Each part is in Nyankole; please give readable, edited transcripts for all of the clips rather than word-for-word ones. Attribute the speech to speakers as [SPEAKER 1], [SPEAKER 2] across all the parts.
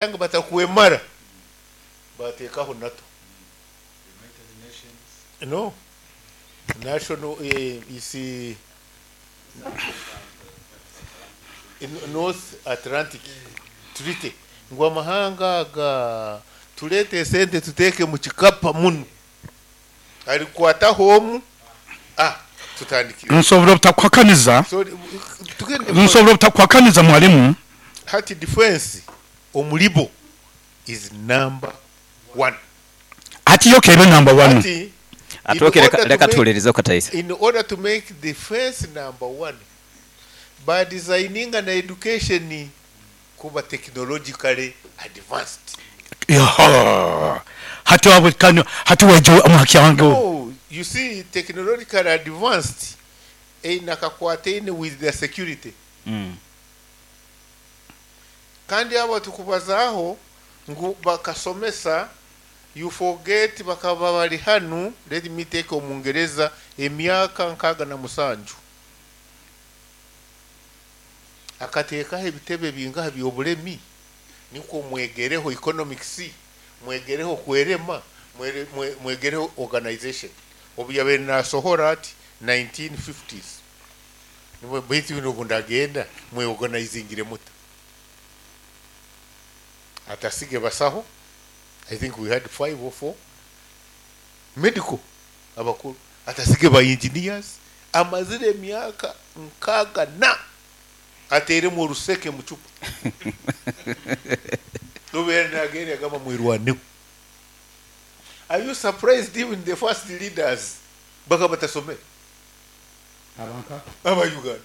[SPEAKER 1] Ngu batakwemara bateekaho NATO. No. National is North Atlantic Treaty ngu amahanga aga tureete esente tuteeke mu kikapa munu arikwataho omu ah tutandikire.
[SPEAKER 2] Nsobora obutakuhakaniza.
[SPEAKER 1] So tugende.
[SPEAKER 2] Nsobora obutakuhakaniza, mwalimu.
[SPEAKER 1] Hati defense omuribo is number one.
[SPEAKER 2] Hati yo kebe number one.
[SPEAKER 1] Hati in
[SPEAKER 3] Atooke leka
[SPEAKER 1] order to
[SPEAKER 3] leka
[SPEAKER 1] make
[SPEAKER 3] tuhulirizeku kataisa.
[SPEAKER 1] In order to make defense number one, ba designinga na education kuba technologically advanced.
[SPEAKER 2] Yaha. Hati wabwe kano hati waija omu haki yange.
[SPEAKER 1] No, you see, technologically advanced eine akakwataine with their security. Kandi abo tukubazaaho ngu bakasomesa, you forget bakaba bari hanu, let me take Omungereza, emyaka 67 akateekaho ebitebe bingaha by'obulemi nikwo mwegereho economics, mwegereho kwerema, mwegereho organization. Obu yabaire nasohora ati 1950s nibwo, baitu bino obu ndagenda mweorganizingire muta? Atasige basaho. I think we had five or four medical abakuru, atasige ba engineers. Amazire emyaka 60 na ateeremu oruseke mu cupa nobeera nagenda yagamba mwirwaneho. Are you surprised even the first leaders bakaba batasomere aba Uganda?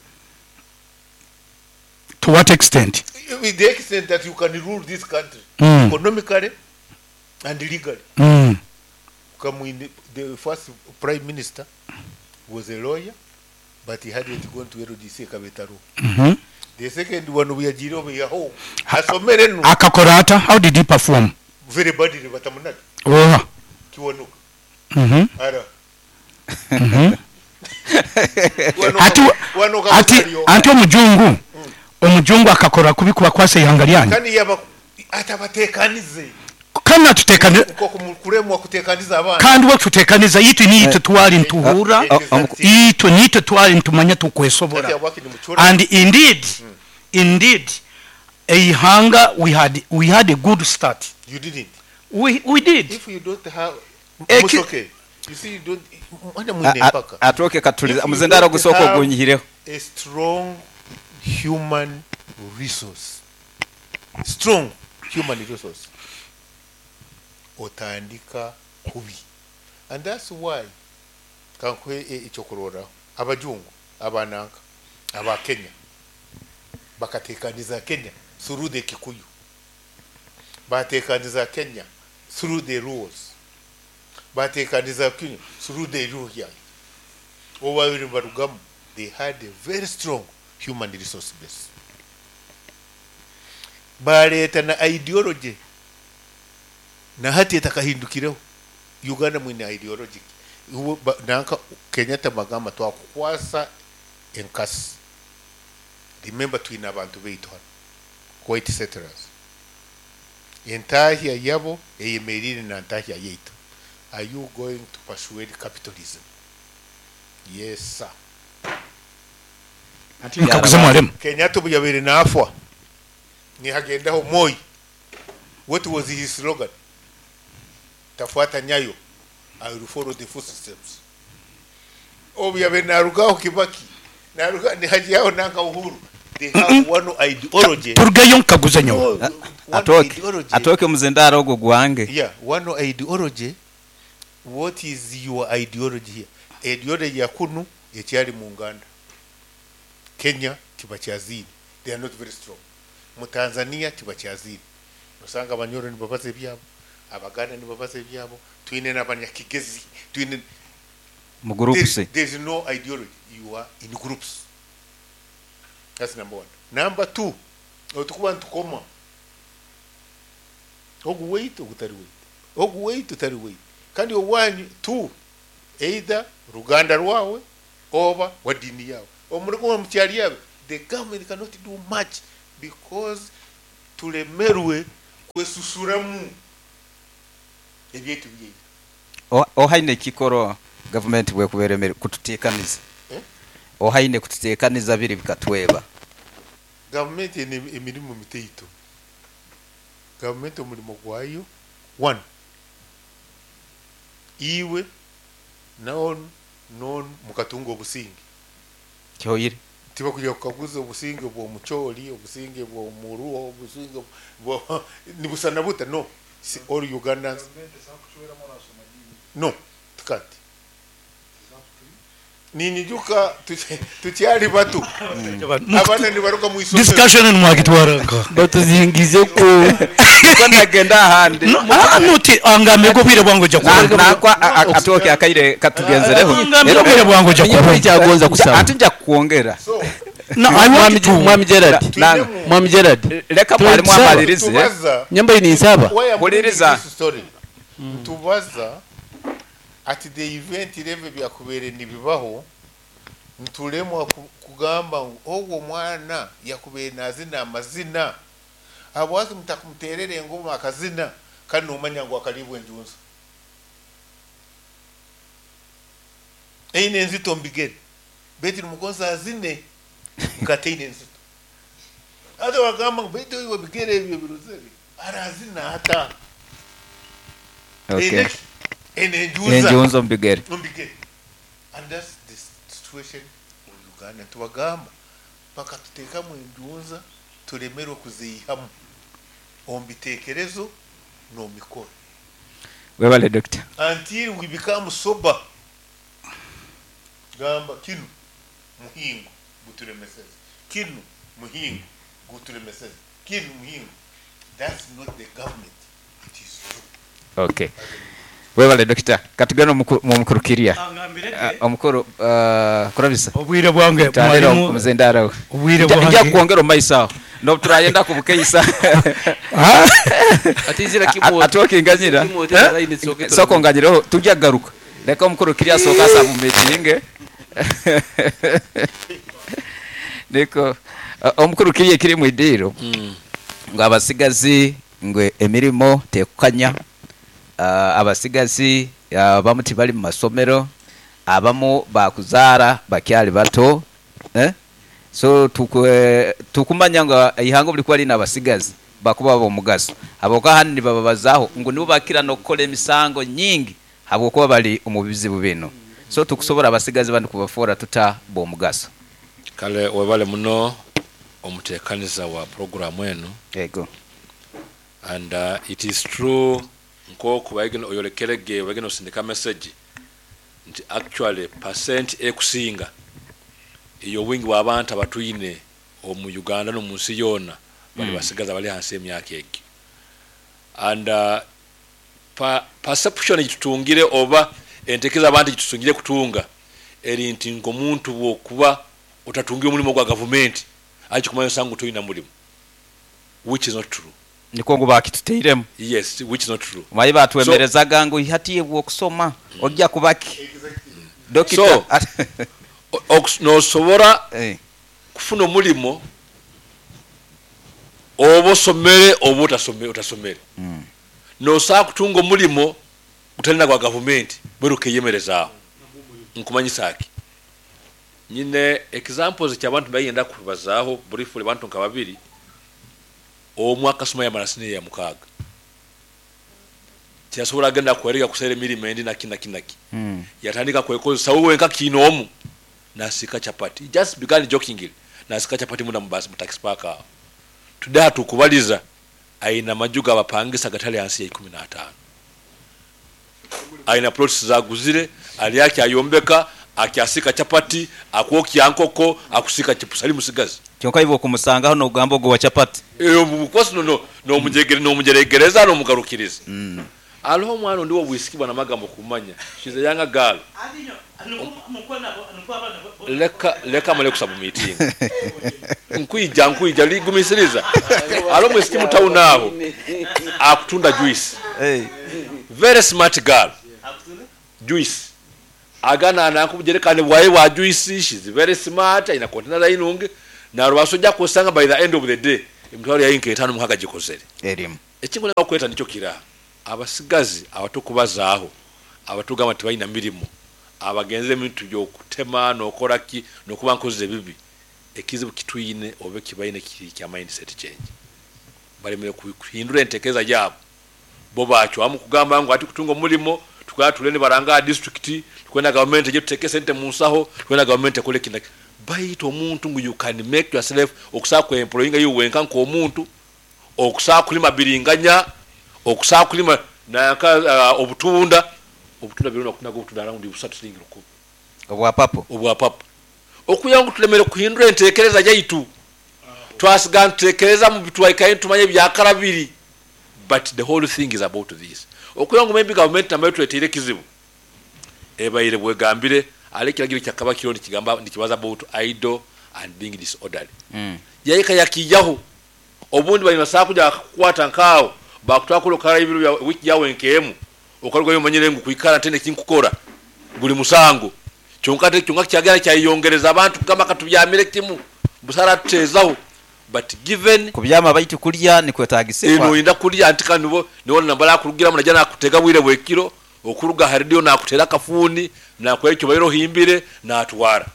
[SPEAKER 2] To what extent?
[SPEAKER 1] With the extent that you can rule this country economically and legally. Kamwine, the first prime minister, was a lawyer, but he hadn't gone to LDC Kabetaro. The second one, obu obu yaho asomere nu.
[SPEAKER 2] Akakora ata? How did he perform?
[SPEAKER 1] Very badly, batamunaga.
[SPEAKER 2] Oha.
[SPEAKER 1] Kiwanuka ara.
[SPEAKER 2] Ati
[SPEAKER 1] Wanuka.
[SPEAKER 2] Ati anti omujungu akakora kubi kubakwasa ihanga lyanyu.
[SPEAKER 1] Kandi yaba atabatekanize.
[SPEAKER 2] Kandi natutekaniza.
[SPEAKER 1] Nko kuremwa kutekaniza abana.
[SPEAKER 2] Kandi we tutekaniza itwe niitwe twali ntuhura. Itwe niitwe twali ntumanya tukwesobora.
[SPEAKER 1] Ati abaki nimucura.
[SPEAKER 2] And indeed eihanga we had a good start.
[SPEAKER 1] You didn't.
[SPEAKER 2] We did.
[SPEAKER 1] If you don't have Musoke, you see, you don't mwana mwine mpaka.
[SPEAKER 3] Atooke katulize.
[SPEAKER 1] If you
[SPEAKER 3] Omuzindaro
[SPEAKER 1] don't
[SPEAKER 3] gusooka
[SPEAKER 1] have
[SPEAKER 3] ogunyihireho.
[SPEAKER 1] a strong human resource, strong human resource, otandika kubi. And that's why kankuhe ekyokurorraho, abajungu abananka aba Kenya bakatekaniza Kenya through the Kikuyu, batekaniza Kenya through the rules, batekaniza Kenya through the Luhya. Obu babiri barugamu, they had a very strong human resource base. Baleeta na ideology na hati etakahindukireho. Uganda mwine ideology. Nanka Kenyatta bagamba twakukwasa enkasi. Remember, twine abantu baitu hano, white settlers, entahya yabo eyemerire na ntahya yaitu. Are you going to persuade capitalism? Yes, sir.
[SPEAKER 2] Nkaguze, mwalimu.
[SPEAKER 1] Kenyatta obu yabaire naafwa nihagendaho Moi. What was his slogan? Tafuata nyayo, I will follow the footsteps. Obu yabaire narugaho Kibaki naruga nihajaho nanka Uhuru. They have one ideology.
[SPEAKER 2] Turugeyo nkaguze nyowe.
[SPEAKER 1] No, one
[SPEAKER 3] Atooke
[SPEAKER 1] ideology.
[SPEAKER 3] atooke omuzindaro ogwo gwange.
[SPEAKER 1] Yeah, one ideology. What is your ideology here? Ideology ya kunu ekyali mu Nganda, Kenya tibakyazine, they are not very strong. Mu Tanzania tibakyazine, osanga Abanyoro nibabaza ebyabo, Abaganda nibabaza ebyabo, twine n'abanyakigezi twine.
[SPEAKER 3] Mu groups.
[SPEAKER 1] There is no ideology. You are in groups. That's number one. Number two, otukuba ntukoma ogu weitu ogutari weitu, ogu weitu utari weitu, kandi owanyu two, either ruganda rwawe oba wa dini yawe omurikuba mukyali yawe. The government cannot do much because tulemerwe. Kwesushuramu ebyaitu byaira.
[SPEAKER 3] Ohaine ekikoro gavumenti bwekuba eremire kututeekaniza? Ohaine kututeekaniza biri bikatweba?
[SPEAKER 1] Gavumenti eine emirimo mitaito. Gavumenti omurimo gwayo, one, iwe na onu n'onu mukatunga obusinge.
[SPEAKER 3] Kyoire.
[SPEAKER 1] Tibakwija kukaguza obusinge bw'omucholi, obusinge bw'omuruo, obusinge bwa nibusana buta no, si all Ugandans no tikanti. Ninyijuka tukyali bato abaana nibaruga mu isomero.
[SPEAKER 2] Discussion enu mwagitwara nkaha?
[SPEAKER 4] Batuzingize ku.
[SPEAKER 3] Ko nagenda ahandi.
[SPEAKER 2] Nuti angambire obwire bwange oja kubona.
[SPEAKER 3] Nangwa atooke akaire katugenzereho.
[SPEAKER 2] Angambire obwire bwange oja kubona.
[SPEAKER 4] Ekyagonza kusaba.
[SPEAKER 3] Ati nja kukwongera.
[SPEAKER 2] No, I want to.
[SPEAKER 4] Mwami Gerald. Mwami Gerald.
[SPEAKER 3] Leka mwalimu amalirize.
[SPEAKER 4] Nyambaire ninsaba.
[SPEAKER 3] Huliriza.
[SPEAKER 1] Nitubaza at the event level ebyakubaire nibibaho, nitulemwa kugamba ngu ogwo omwana yakubaire nazina amazina, habwaki mutakumuterera engoma akazina kandi nomanya ngu akaribwa enjunzi. Eine enzito omu bigere beitu nimugonza azine nkataine enzito. Hati wagamba ngu beitu iwe ebigere ebyo ebirozere arazina ata?
[SPEAKER 3] Okay.
[SPEAKER 1] Eine ki? Eine enjunza.
[SPEAKER 3] Enjunza omu bigere.
[SPEAKER 1] Omu bigere. And that's the situation of Uganda. Nitubagamba bakatuteekamu enjunza turemerwe kuziihamu omu biteekerezo n'omu mikoro.
[SPEAKER 3] Webale Dokita.
[SPEAKER 1] Until we become sober. Gamba kinu muhingo guturemeseze, kinu muhingo guturemeseze, kinu muhingo. That's not the government, it is you.
[SPEAKER 3] Okay. Webale Dokita. Katugende omu mukuru Kirya. Omukuru Kurabisa.
[SPEAKER 2] Obwire bwange
[SPEAKER 3] Tandira
[SPEAKER 2] mwalimu.
[SPEAKER 3] omuzindaaro we.
[SPEAKER 2] Obwire
[SPEAKER 3] Nja
[SPEAKER 2] bwange.
[SPEAKER 3] kukwongera omu maiso aho. N'obu turayenda kubukeisa.
[SPEAKER 4] Atizira kimwe.
[SPEAKER 3] Atwokinganyira. Sooka onganyireho tujja kugaruka. Leka omukuru Kirya asooke asabumitinge. Niko omukuru Kirya ekiri mu idiiro ngu abasigazi ngu emirimo tekukanya, abasigazi abamu tibali mu masomero, abamu bakuzaara bakyali bato so tukumanya ngu eihanga obulikuba liine abasigazi bakuba ab'omugaso habwokuba ahandi nibababazaaho ngu nibo bakira n'okukora emisango nyingi habwokuba bali omu bizibu binu. So tukusobola abasigazi banu kubafoora tuta b'omugaso?
[SPEAKER 5] Kale webale muno omutekaniza wa puroguramu enu.
[SPEAKER 3] Yego.
[SPEAKER 5] And it is true nkoku obaire oyolekere ge obaire nosindika message nti actually percent ekusinga eyobwingi bwabantu abatwine omu Uganda nomunsi yoona bali basigazi abali ahansi yemyaka egyo and Perception ejitutungire oba entekereza abantu ejitusingire kutunga eri nti nkomuntu bwokuba otatungire omulimo gwa gavumenti aye kikumanyisa ngu toina mulimo which is not true.
[SPEAKER 3] Nikwo ngu baakituteiremu.
[SPEAKER 5] Yes, which is not true.
[SPEAKER 3] Omanyi
[SPEAKER 5] So.
[SPEAKER 3] baatwemerezaga ngu hati iwe okusoma oja kuba ki? Dokita.
[SPEAKER 5] So, nosobora kufuna omulimo oba osomere oba otasomere. Nosobola kutunga omulimo gutali na gwa gavumenti bwena okeyemerezaaho. Nkumanyisa ki? Nyine examples kyabantu mbayenda kubazaaho briefly abantu nka babiri, omwe akasoma yamara siniya ya mukaaga tiyasobola genda kwerega kusera emirimo endi naki naki naki yatandika kwekozesa we wenka kiinoomu nasiika chapati, he just began jokingly nasiika chapati munda mu bus mu taxi park aho. Today hatukubaliza aine amaju gabapangisa agatali ahansi ya ikumi n'ataano. Aine plots zaguzire, ari akyayombeka, akyasiika chapati, akwokya nkoko, akusiika chipusi, ari musigazi.
[SPEAKER 3] Kyonka iwe okumusangaho nogamba ogu wa chapati.
[SPEAKER 5] Of course nomugyeregereza nomugarukiriza. Hariho omwana ondi owobwisiki bwana Magambo kumanya, she's a younger girl. Leka leka male kusabumitinga. Nkwija nkwija gumisiriza. Hariho omwisiki mu town aho akutunda juice. Very smart girl. Juice. Agana nanka obujerekani bwaye bwa juice, she's very smart, aine container zaye nungi. Narubaasa oja kusanga by the end of the day emitwaro yaye nka etaano mukaga agikozere.
[SPEAKER 3] Erimu.
[SPEAKER 5] Ekinkwenda kukweta nikyo kira abasigazi abatukubazaaho abatugamba tibalina mirimu abagenzere ebintu by'okutema n'okora ki n'okuba nkozi ebibi, ekizibu kitwine oba ekibaine kiri kya mindset change. Balemere kuhindura entekereza yaabo. Bo bacwamu kugamba ngu ati kutunga omurimo tukaba tule nibaranga aha district, tukwenda gavumenti egye tuteeke sente mu nsaho, tukwenda gavumenti ekore eki naki. Baitu omuntu ngu you can make yourself okusobola kwe employinga iwe wenka nk'omuntu, okusobola kulima biringanya, okusobola kulima nanka obutunda, obutunda biro nakutundaga obutunda around busatu siringi rukumi.
[SPEAKER 3] Obwa papo.
[SPEAKER 5] Obwa papo. Okwihaho ngu tulemere kuhindura entekereza yaitu, twasigara nitutekereza mu bitwaikaire nitumanya ebyakara biri, but the whole thing is about this. Okwihaho ngu maybe gavumenti namayo etureteire ekizibu, ebaire bwegambire hariho ekiragiro ekyakaba kiriho nikigamba nikibaza about idle and being disorderly. Yahika yakiijaho. Obundi bari nibasobola kuja bakakukwata nk'aho, bakutwara kuri okarayo ebiro bya wiiki yaawe nk'emu, okarugayo omanyire ngu kwikara ntaine eki nkukora guri musango. Kyonka ate kyonka kyagenda kyayeyongereza abantu kugamba katubyamire kimu, busa aratuteezaho but given.
[SPEAKER 3] Kubyama baitu kurya nikwetaagisibwa.
[SPEAKER 5] Noyenda kurya anti kandi nibo nibo nambara akurugiramu naija nakutega bwire bwekiro, okuruga aha radio nakuteera akafuuni, nakuha eki obaire ohimbire natwara.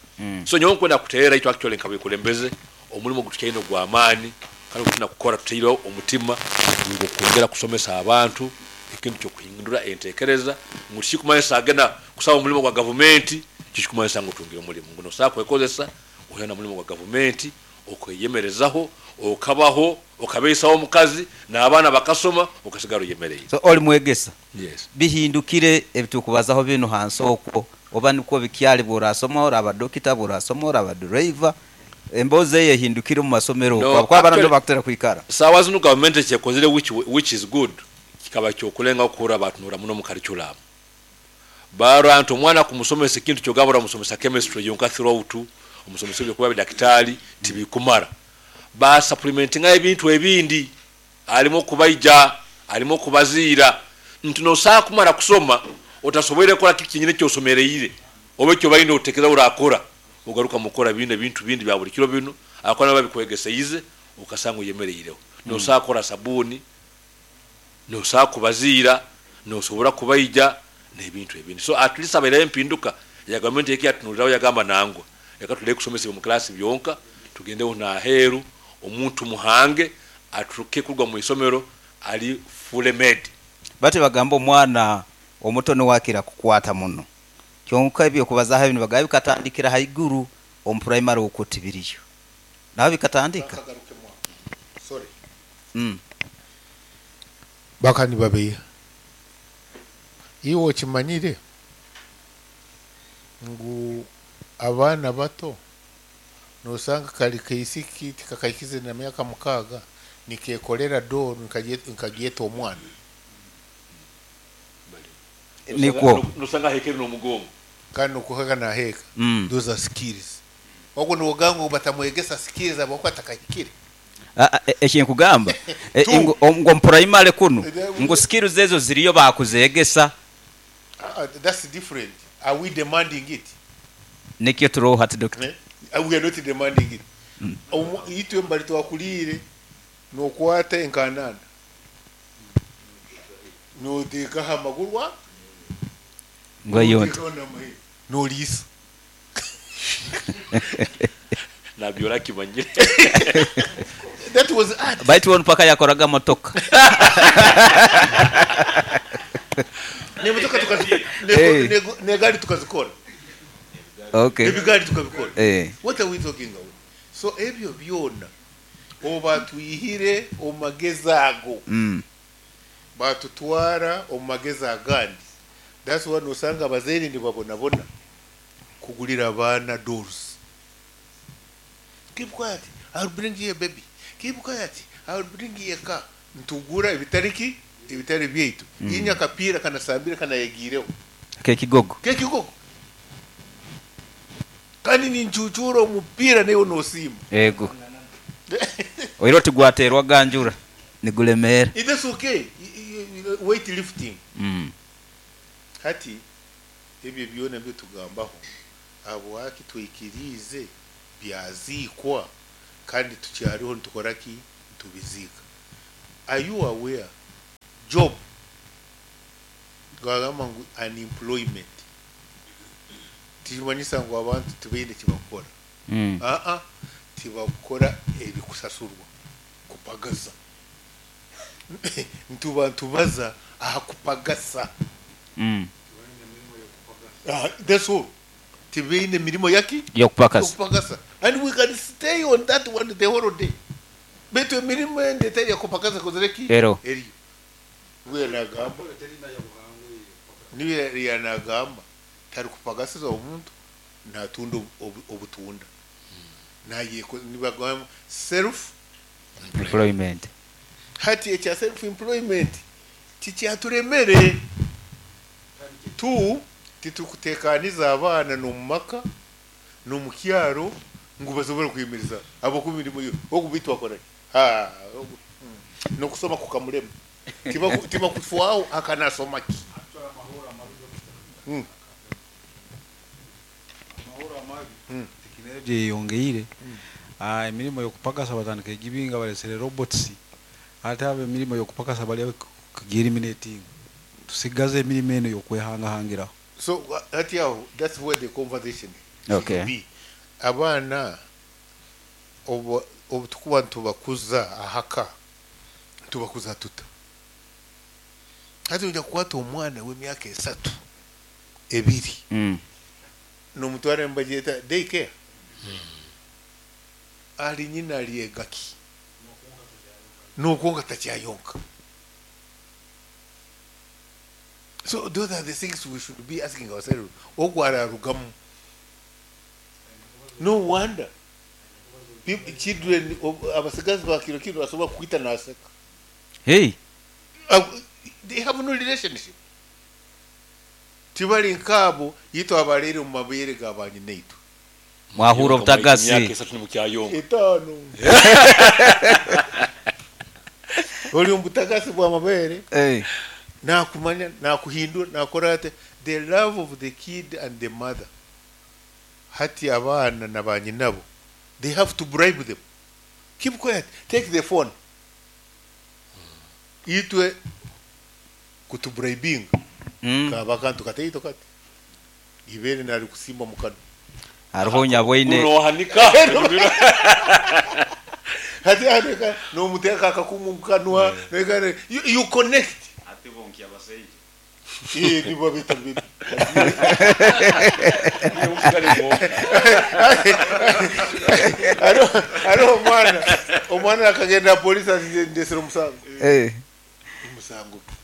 [SPEAKER 5] So nyowe nkwenda kuteera itwe actually nkabekulembeze Omurimo ogu tukyaine ogw'amaani kandi ogu twine kukora tutaireho omutima guri gw'okwongera kusomesa abantu ekintu ky'okuhindura entekereza ngu tikikumanyisa agenda kusaba omurimo gwa gavumenti tikikumanyisa ngu otungire omurimo ngu nosobola kwekozesa oihireho na murimo gwa gavumenti okeyemerezaho okabaho okabeisaho omukazi n'abaana bakasoma okasigara oyemereire.
[SPEAKER 3] So oli mwegesa?
[SPEAKER 5] Yes.
[SPEAKER 3] Bihindukire ebitukubazaho binu hansi okwo oba nikwo bikyali bworasoma oraba dokita bworasoma oraba driver Emboozi eyo ehindukire omu masomero okwo
[SPEAKER 5] No,
[SPEAKER 3] ahabw'okuba abaana
[SPEAKER 5] actually
[SPEAKER 3] nibo bakutera kwikara.
[SPEAKER 5] saawa zinu gavumenti ekyekozire which which is good kikaba kyokulengaho kuhurra batunura muno omu curriculum. Barora nti omwana kumusomesa ekintu kyogamba oramusomesa chemistry yonka throughout, omusomesa ebyokuba bidakitaali tibikumara. Ba supplementingayo ebintu ebindi harimu okubaija, harimu okubaziira nti nosobola kumara kusoma otasoboire kukora kiki kyenyini ekyosomereire oba ekyobaire notekereza orakora. Ogaruka mukora binu ebintu bindi bya buli kiro binu ahakuba nabo babikwegeseize okasanga oyemereireho. Nosobola kukora sabuuni, nosobola kubaziira, nosobora kubaija nebintu ebindi. So at least habaireho empinduka ya gavumenti eki yatunuliraho yagamba nangwa reka tuleke kusomesa omu class byonka tugendeho naheeru omuntu tumuhange aturuke kuruga mwisomero ari fully made.
[SPEAKER 3] Batyo bagamba omwana omuto niwe akira kukwata muno. Kyonka eby'okubazaaho ebi nibagamba bikatandikira haiguru omu puraimari okwo tibiriyo. Naho bikatandika.
[SPEAKER 1] Bakaba nibabeiha. Iwe okimanyire ngu abaana bato nosanga kari kaisiki tikakahikize na myaka mukaaga nikekorera doll nkagyeta omwana.
[SPEAKER 3] Nikwo.
[SPEAKER 5] Nosanga ahekere n'omugongo.
[SPEAKER 1] Kandi nokuheka naheka. Those are skills. Ogwo nogamba ngu batamwegesa skills ahabwokuba atakahikire.
[SPEAKER 3] Eki nkugamba
[SPEAKER 1] Two.
[SPEAKER 3] ngu omu purayimale kunu ngu skills ezo ziriyo bakuzegesa.
[SPEAKER 1] That's different. Are we demanding it?
[SPEAKER 3] Nikyo turoho hati Dokita.
[SPEAKER 1] We are not demanding it. Itwe mbari twakuriire nokwata enkanana. Noteeka aha maguru aga,
[SPEAKER 3] Ngu eyo nti.
[SPEAKER 1] noteekaho n'amahembe, noriisa.
[SPEAKER 5] Nabyo orakimanyire.
[SPEAKER 1] That was art.
[SPEAKER 3] Baitu onu paka yakoraga motoka.
[SPEAKER 1] N'emotoka tukazi,
[SPEAKER 3] Eh.
[SPEAKER 1] n'egaari tukazikora.
[SPEAKER 3] Okay.
[SPEAKER 1] Ebigaari tukabikora.
[SPEAKER 3] Eh.
[SPEAKER 1] What are we talking about? So ebyo byona obatwihire omu magezi ago. Batutwara omu magezi agandi. That's why nosanga abazaire nibabonabona kugurira abaana dolls. Keep quiet, I will bring you a baby. Keep quiet, I will bring you a car. Nitugura ebitari ki? Ebitari byaitu. Inye akapiira kanasambire kanayegiireho.
[SPEAKER 3] Ak'ekigogo.
[SPEAKER 1] K'ekigogo. Kandi nincuucuura omupiira naiwe nosiima.
[SPEAKER 3] Ego. Oire oti gwateerwa ganjura niguremeera.
[SPEAKER 1] That's okay. Weight lifting. Hati ebyo byona ebi tugambaho ahabwaki twikiriize byaziikwa kandi tukyariho nitukora ki? Nitubiziika. Are you aware? Job Twagamba ngu unemployment tikimanyisa ngu abantu tibaine kibakukora. Aa, tibakukora ebikusasurwa kupagasa. Nituba nitubaza aha kupagasa. That's all. Tibaine mirimo yaki?
[SPEAKER 3] Y'okupakasa.
[SPEAKER 1] Y'okupakasa. And we can stay on that one the whole day. Beitu emirimo endi etari ey'okupakasa ekozire ki?
[SPEAKER 3] Eriho.
[SPEAKER 1] Eriyo. Niwe nagamba. Niwe yanagamba tarikupakasiza omuntu natunda obutunda. Nayeko nibagamba self
[SPEAKER 3] employment.
[SPEAKER 1] Hati ekya self employment tikyaturemere. Tu titukutekaniza abaana n'omumaka n'omukyaro ngu basobole kwemereza ahabw'okuba emirimo yo ogu beitu akora ki? Haa ogu n'okusoma kukamurema tibakufwaho aka nasoma ki?
[SPEAKER 6] Amahurro amabi, tekinologye eyeyongeire, emirimo y'okupakasa batandika kugibinga balesere robots, hati abo emirimo y'okupakasa bari kugieliminatinga. Tusigaze emirimo enu ey'okwehangahangiraho.
[SPEAKER 1] So hati aho that's where the conversation should be. Abaana obu obutukuba nitubakuza ahaka nitubakuza tuta? Hati noija kukwata omwana w'emyaka esatu, ebiri nomutwara nibagyeta day care ahari nyina aryega ki? Nokwonka takyayonka. So those are the things we should be asking ourselves ogu ararugamu. No wonder children abasigazi ba kiro kinu asobola kukwita naseka.
[SPEAKER 3] Hey.
[SPEAKER 1] They have no relationship. Tibari nkaabo itwe abareire omu mabeere ga banyinaitwe.
[SPEAKER 3] Mwahurra obutagasi.
[SPEAKER 5] Emyaka esatu nimukyayonka.
[SPEAKER 1] Etaano. Ori omu butagasi bw'amabeere. Nakumanya, nakuhindura, nakora ata. The love of the kid and the mother. Hati abaana na banyinabo, they have to bribe them. Keep quiet, take the phone. Itwe kutubribinga kaba akantu kataito kati. Ibeere narikusimba omu kanwa.
[SPEAKER 3] Hariho nyabweine.
[SPEAKER 5] Nohanika.
[SPEAKER 1] Hati ahaneka nomuteeka akakumu omu kanwa, you connect.
[SPEAKER 7] Ate bonki abasaija.
[SPEAKER 1] Ee, nibo abeeta baby. Hariho omwana, omwana akagenda aha police ati ndetsire omusango. Omusango ki?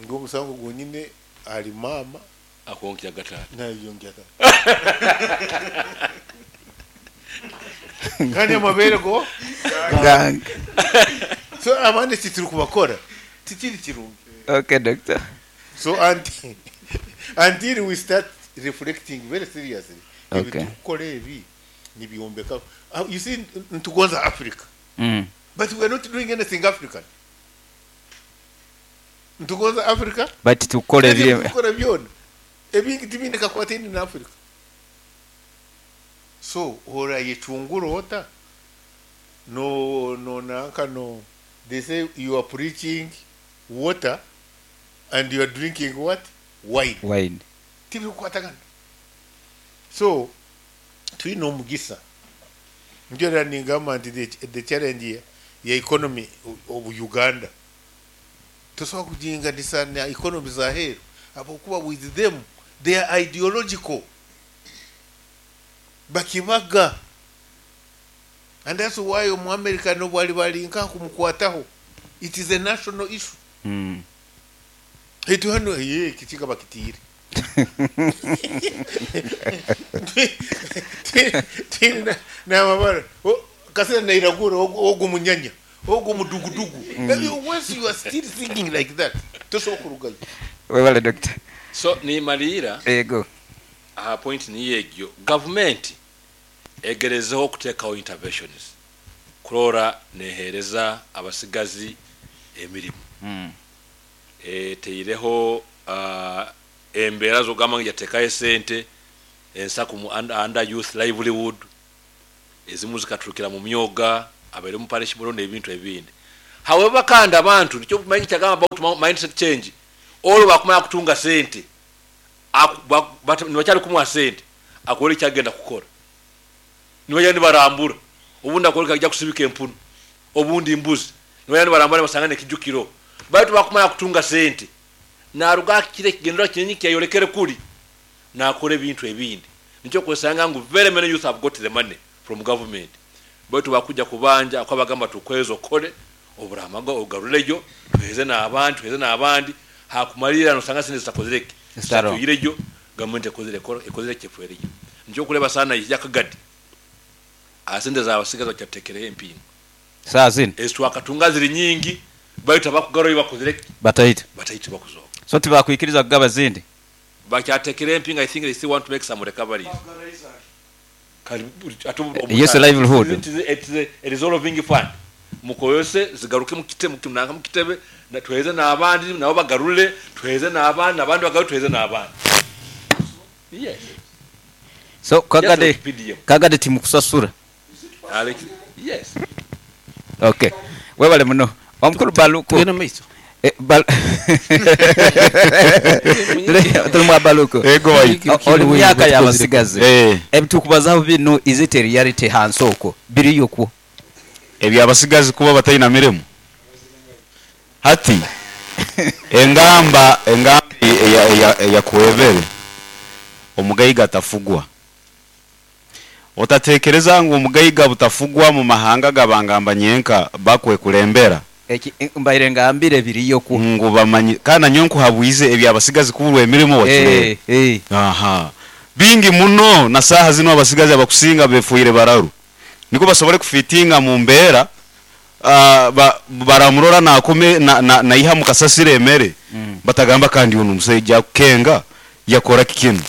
[SPEAKER 1] Ngu omusango gwonyine ahari maama.
[SPEAKER 5] Akwonkyanga taata.
[SPEAKER 1] Nayonkya taata. Kandi amabeere go
[SPEAKER 3] Gange.
[SPEAKER 1] So abandi eki turikubakora tikiri kirungi.
[SPEAKER 3] Okay doctor.
[SPEAKER 1] So until, until we start reflecting very seriously ebi turikukora ebi nibyombeka. You see nitugonza Africa. But we are not doing anything African. Nitugonza Africa.
[SPEAKER 3] But tukukora
[SPEAKER 1] Ebi
[SPEAKER 3] ebiri.
[SPEAKER 1] turikukora byona ebingi tibiine kakwataine na Africa. So orayecungura ota? No, no, nanka no. They say you are preaching water and you are drinking what? Wine.
[SPEAKER 3] Wine.
[SPEAKER 1] Tibikukwatagana. So twine omugisa. Nikyo rero ningamba nti the challenge ya, ya economy of Uganda tosobola kuginganisa na economy za heru habwokuba with them they are ideological bakibaga and that's why omu America nobu ariba ari nkaha kumukwataho it is a national issue. Beitu hanu hee ekikiga bakitiire. Twine n'amabara kasira nairagura ogu munyanya ogu mudugudugu. Once you are still thinking like that tosobola kurugayo.
[SPEAKER 3] Webale doctor.
[SPEAKER 5] So nimariira
[SPEAKER 3] Yego.
[SPEAKER 5] aha point niyo egyo, gavumenti egerezeho okuteekaho interventions kuroora neheereza abasigazi emirimu. Eteireho embeera z'okugamba ngu yateekaho esente ensaku mu under youth livelihood, ezimu zikaturukira mu myoga, abaire omu parish board n'ebintu ebindi. However kandi abantu nikyo manyi kyagamba about mindset change olwo bakumanya kutunga sente nibakyali kumuha sente akore ekyagenda kukora nibajya nibarambura obundi akore ajja kusibika empunu obundi mbuzi nibajya nibarambura nibasanga nekijukiro baitu bakumanya kutunga sente naruga akire ekigendera kinyi kyayolekere kuri nakora ebintu ebindi. Nikyo kwesanga ngu very many youth have got the money from government baitu bakujja kubanja akabagamba tukwezo okole oburamago ogaruleyo tuheze n'abandi tuheze n'abandi hakumalira nosanga sente zitakozereke
[SPEAKER 3] Zitaro.
[SPEAKER 5] zituyireyo gavumenti ekozere ekozere kyefwereyo. Nikyo kuleba sana yakagadi asente zabasigaza bakyatekereyo empingo
[SPEAKER 3] Saa zino
[SPEAKER 5] ezitwakatunga ziri nyingi baitu abakugaruyo bakozereke
[SPEAKER 3] bataita
[SPEAKER 5] bataita bakuzoka
[SPEAKER 3] so tibakwikiriza kugaba zindi
[SPEAKER 5] bakyatekera empinga. I think they still want to make some recoveries.
[SPEAKER 3] Yes, livelihood.
[SPEAKER 5] It is a resolving fund mukoyose zigaruke mukite mukinanga mukitebe na tuheze n'abandi nabo bagarule tuheze n'abandi n'abandi bagarule tuheze n'abandi. Yes.
[SPEAKER 3] So kagade
[SPEAKER 5] Just like PDM.
[SPEAKER 3] Kagade timukusasura.
[SPEAKER 5] Alex, yes.
[SPEAKER 3] Okay, webale muno omukuru Baluku.
[SPEAKER 4] Tugenda mu maiso.
[SPEAKER 3] Tuli mwa Baluku.
[SPEAKER 7] Ego waitu.
[SPEAKER 3] Oli mu myaka y'abasigazi.
[SPEAKER 7] Eh.
[SPEAKER 3] Ebitukubazaho binu is it a reality hansi okwo biriyo kwo?
[SPEAKER 7] Ebyabasigazi kuba bataina mirimu hati engamba engamba eyakwebere omugaiga atafugwa. Otatekereza ngu omugaiga butafugwa mu mahanga gabangamba nyenka bakwekulembera.
[SPEAKER 3] Eki mbaire ngambire biriyo kwo.
[SPEAKER 7] Ngu bamanyi kana nyo nkuhabwize ebyabasigazi kuburwa emirimu wakirebe. Aha. Bingi muno na saha zino abasigazi abakusinga befuire bararu. Niko basobole kufitinga mu mbeera, baramurora nakome na iha mukasasire emere. Batagamba kandi uno musajja kukenga yakora kikino.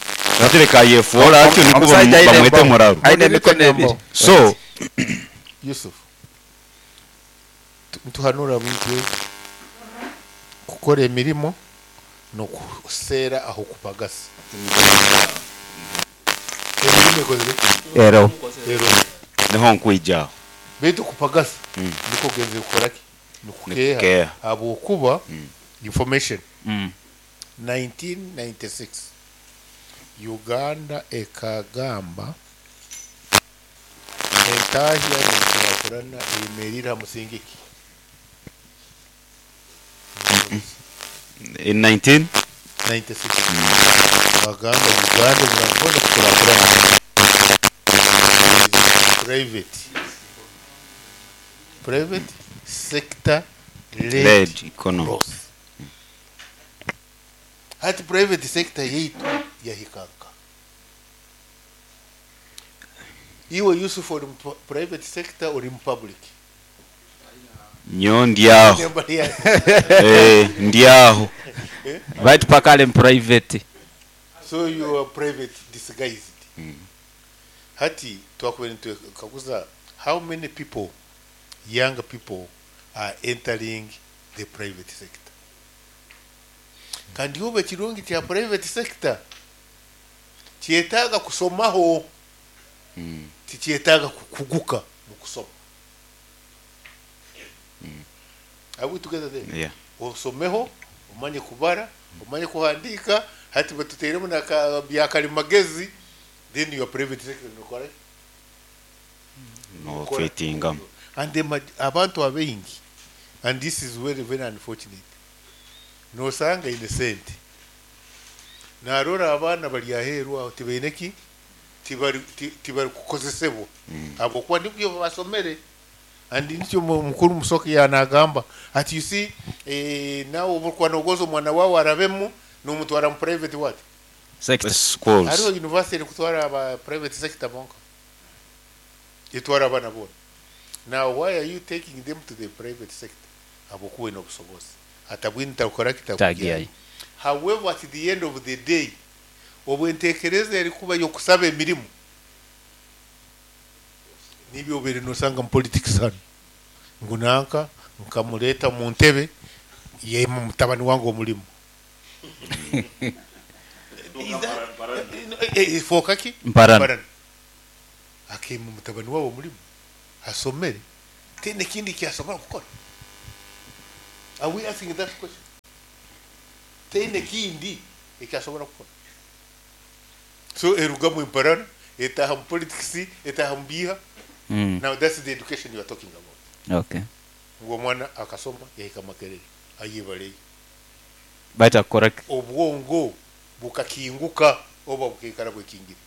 [SPEAKER 7] Atereka yefuola atyo niko
[SPEAKER 3] Omusajja aine
[SPEAKER 7] bamwete
[SPEAKER 3] embogo.
[SPEAKER 7] muraru.
[SPEAKER 3] Aine emikono ebiri.
[SPEAKER 7] So
[SPEAKER 1] Yusuf, ntuhanura bintu kukora emirimo nokuseera aho kupagasa. Emirimo ekozire
[SPEAKER 3] Ero.
[SPEAKER 1] Ero.
[SPEAKER 7] Niho nkwijaho.
[SPEAKER 1] Baitu kupagasa niko genze kukora ki? Nikukeha.
[SPEAKER 7] Nikukeha.
[SPEAKER 1] Habwokuba information. 1996 Uganda ekagamba entahya n'enkurakurana eyemerire ha musingi ki?
[SPEAKER 7] In 19
[SPEAKER 1] 96. Bagamba Uganda murabona kukurakurana. Private. Private sector led,
[SPEAKER 7] led economy.
[SPEAKER 1] growth. Hati private sector yaitu yahikanka. Iwe Yusuf ori mu private sector ori mu public.
[SPEAKER 7] Nyo ndiaho.
[SPEAKER 1] Nembali ya-
[SPEAKER 7] Ndiaho.
[SPEAKER 3] Baitu pakale mu private.
[SPEAKER 1] So you are private disguised. Hati twakubere kaguza how many people, young people are entering the private sector. Kandi ube kirungi kya private sector kyetaaga kusomaho. Tikyetaaga kukuguka mu kusoma. Are we together there?
[SPEAKER 7] Yeah.
[SPEAKER 1] Osomeho, omanye kubara, omanye kuhandika, hati batuteeremu na bya kalimagezi, then your private sector nokora.
[SPEAKER 7] No fitinga.
[SPEAKER 1] And the abantu abaingi, and this is very very unfortunate. Nosanga innocent. Narora abaana bali aheeru aho tibaine ki? Tibari kukozesebwa. Habwokuba nibyo basomere. And nikyo mukuru Musoke yanagamba ati you see, nawe obukuba nogoza omwana wawe arabemu nomutwara mu private what?
[SPEAKER 3] Sector.
[SPEAKER 7] Schools.
[SPEAKER 1] Hariho university erikutwara aba private sector bonka. Etwara abaana boona. Now why are you taking them to the private sector? Habwokuba oine obusobozi. Atabwine takukora ki
[SPEAKER 3] Tagiyayo.
[SPEAKER 1] However, at the end of the day, obwentekereza erikuba y'okusaba emirimu nibyo obeire nosanga mu politics hano. Ngu nanka nkamuleeta mu ntebe yema mutabani wange omulimu. Fooka ki?
[SPEAKER 3] Mparana.
[SPEAKER 1] Mparana. Akema mutabani wawe omulimu asomere tena ekindi kyasobola kukora. Are we asking that question? Taine kindi eki asobora kukora. So erugamu emparana, etaaha mu politics, etaaha mu biiha. Now that's the education you are talking about.
[SPEAKER 3] Okay.
[SPEAKER 1] Ngu omwana akasoma yahika Makerere, ayebaleyo.
[SPEAKER 3] Baitu akukora ki?
[SPEAKER 1] Obwongo bukakinguka oba bukaikara bwekingire.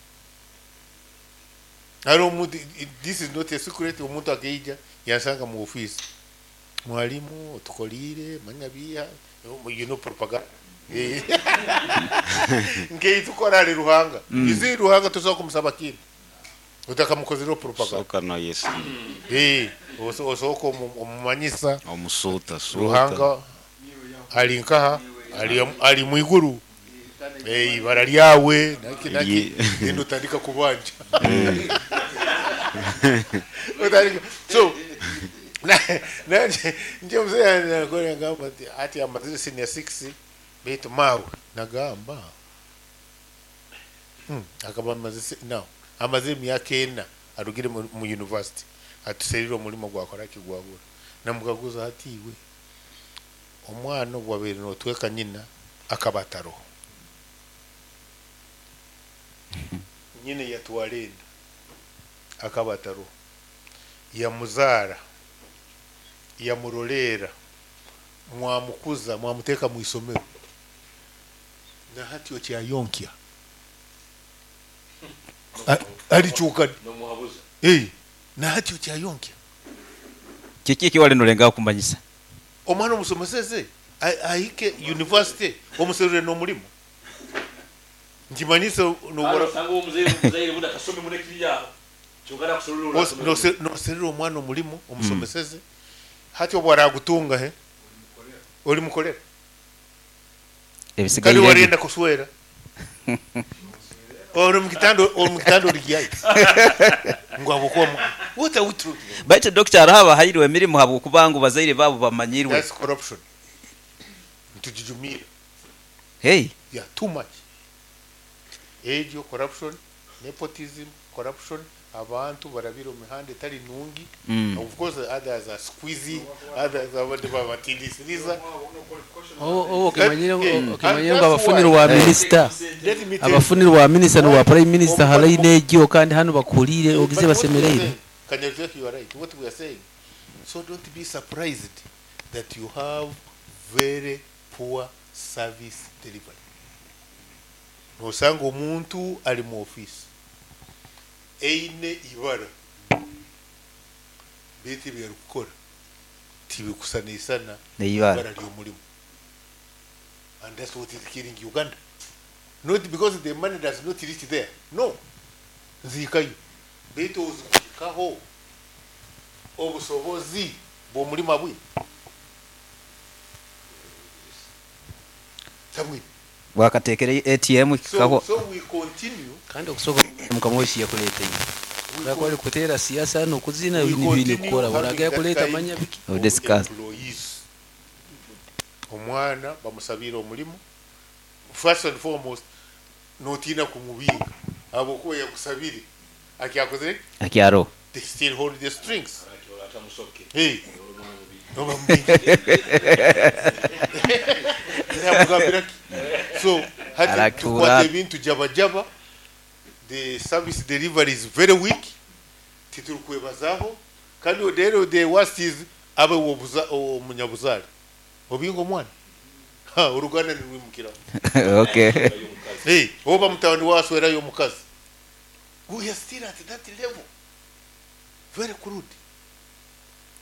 [SPEAKER 1] Hariho omuntu, this is not a secret, omuntu akaija yansanga mu office, mwalimu otukoliire manya biiha, you know propaganda nk'eitukora ahari Ruhanga. You see Ruhanga tosobola kumusaba kintu otakamukozireho propaganda.
[SPEAKER 7] Sooka noyesiga.
[SPEAKER 1] Osooka omumanyisa.
[SPEAKER 7] Omusuuta suuta.
[SPEAKER 1] Ruhanga ari nkaha? Ari mwiguru. Ibara ryawe naki naki then otandika kubanja. Otandika. So nje mzee anakora ngamba ati ati amazire senior 6 baitu mawe nagamba. Akaba amaze no amaze emyaka ena arugire mu university atuserire omurimo gwakora ki gwabura. Namukaguza ati iwe omwana obwabaire notweka nyina akaba ataroho. Nyina yatwara enda akaba ataroho. Yamuzaara, yamuroleera, mwamukuza, mwamuteeka mu isomero. Na hati okyayonkya. Alikyuka.
[SPEAKER 5] Nomuhabuza.
[SPEAKER 1] Na hati okyayonkya.
[SPEAKER 3] Kiki eki wali nolengaho kumanyisa?
[SPEAKER 1] Omwana omusomeseze ahike university omuserure n'omurimo. Nkimanyise
[SPEAKER 5] nobora. Osanga omuzaire omuzaire bundi akasome muno ekiri aho. Kyonka nakuserura
[SPEAKER 1] ora. Noserura omwana omurimo omusomeseze. Hati obu aragutunga he? Oli mukolera.
[SPEAKER 3] Ebisigaire.
[SPEAKER 1] Kandi warenda kuswera. Ori mukitanda, ori mukitanda ori gyayi. Ngu habwokuba what are we talking about?
[SPEAKER 3] Baitu doctor hariho abahairwe emirimo habwokuba ngu bazaire baabo bamanyirwe.
[SPEAKER 1] That's corruption. Nitugijumiire.
[SPEAKER 3] Hey.
[SPEAKER 1] Yeah, too much. Egyo corruption, nepotism, corruption, abantu barabire omu mihanda etari nungi. Of course others are squeezing, others abandi babatindisiriza.
[SPEAKER 4] Obu okimanyire ngu okimanyire ngu abafunire owa minisita abafunire owa minisita n'owa prime minister ha line egyo kandi hanu bakuhuriire ogize basemereire.
[SPEAKER 1] Kanyarujweki you are right what we are saying so don't be surprised that you have very poor service delivery. Nosanga omuntu ari mu office eine ibara beitu ebi arikukora tibikusanisana
[SPEAKER 3] Neibara.
[SPEAKER 1] ibara ry'omurimo and that's what is killing Uganda not because the money does not reach there no nzihikayo beitu ozikuhikaho obusobozi bw'omurimo abwine tabwine.
[SPEAKER 3] Bwakateekere ATM
[SPEAKER 1] So,
[SPEAKER 3] kikaho.
[SPEAKER 1] so we continue.
[SPEAKER 4] Kandi okusooka mukama waitu yakuleeta iwe. Oraba ori kuteera siasa n'okuzina
[SPEAKER 1] We
[SPEAKER 4] ebintu biine
[SPEAKER 1] continue
[SPEAKER 4] kukora.
[SPEAKER 1] having
[SPEAKER 4] Oraba
[SPEAKER 1] that
[SPEAKER 4] yakuleeta
[SPEAKER 1] kind
[SPEAKER 4] manya biki.
[SPEAKER 1] of
[SPEAKER 3] Discuss.
[SPEAKER 1] employees. Omwana bamusabiire omurimo. First and foremost, notiina kumubinga ahabw'okuba yakusabire. Akyakozire ki?
[SPEAKER 3] Akyaro.
[SPEAKER 1] They still hold the strings. Hey. Noba mubinga. Namugambira ki? So, hati
[SPEAKER 3] Aratura.
[SPEAKER 1] tukwata ebintu jabajaba. The service delivery is very weak. Titurikwebazaho. Kandi rero the worst is abe omunyabuzaare. Obinga omwana. Ha, oruganda nirwimukiraho.
[SPEAKER 3] Okay.
[SPEAKER 1] Hey, oba mutabani waswerayo omukazi. We are still at that level. Very crude.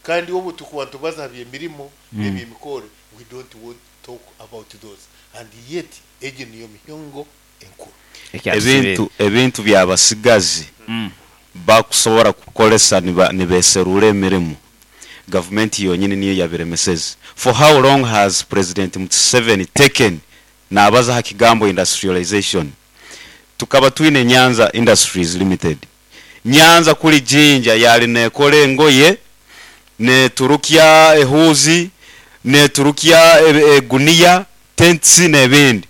[SPEAKER 1] Kandi obu tukuba nitubaza aha by'emirimo n'eby'emikoro, we don't want to talk about those. And yet, egyo niyo mihongo enkuru.
[SPEAKER 7] Ebintu ebintu by'abasigazi bakusobora kukoresa nibeserura emirimo gavumenti yonyini niyo yabiremeseze. For how long has President Museveni taken nabaza aha kigambo industrialization? Tukaba twine Nyanza Industries Limited. Nyanza kuri Jinja yali nekora engoye, neturukya ehuzi, neturukya eguniya, tents n'ebindi.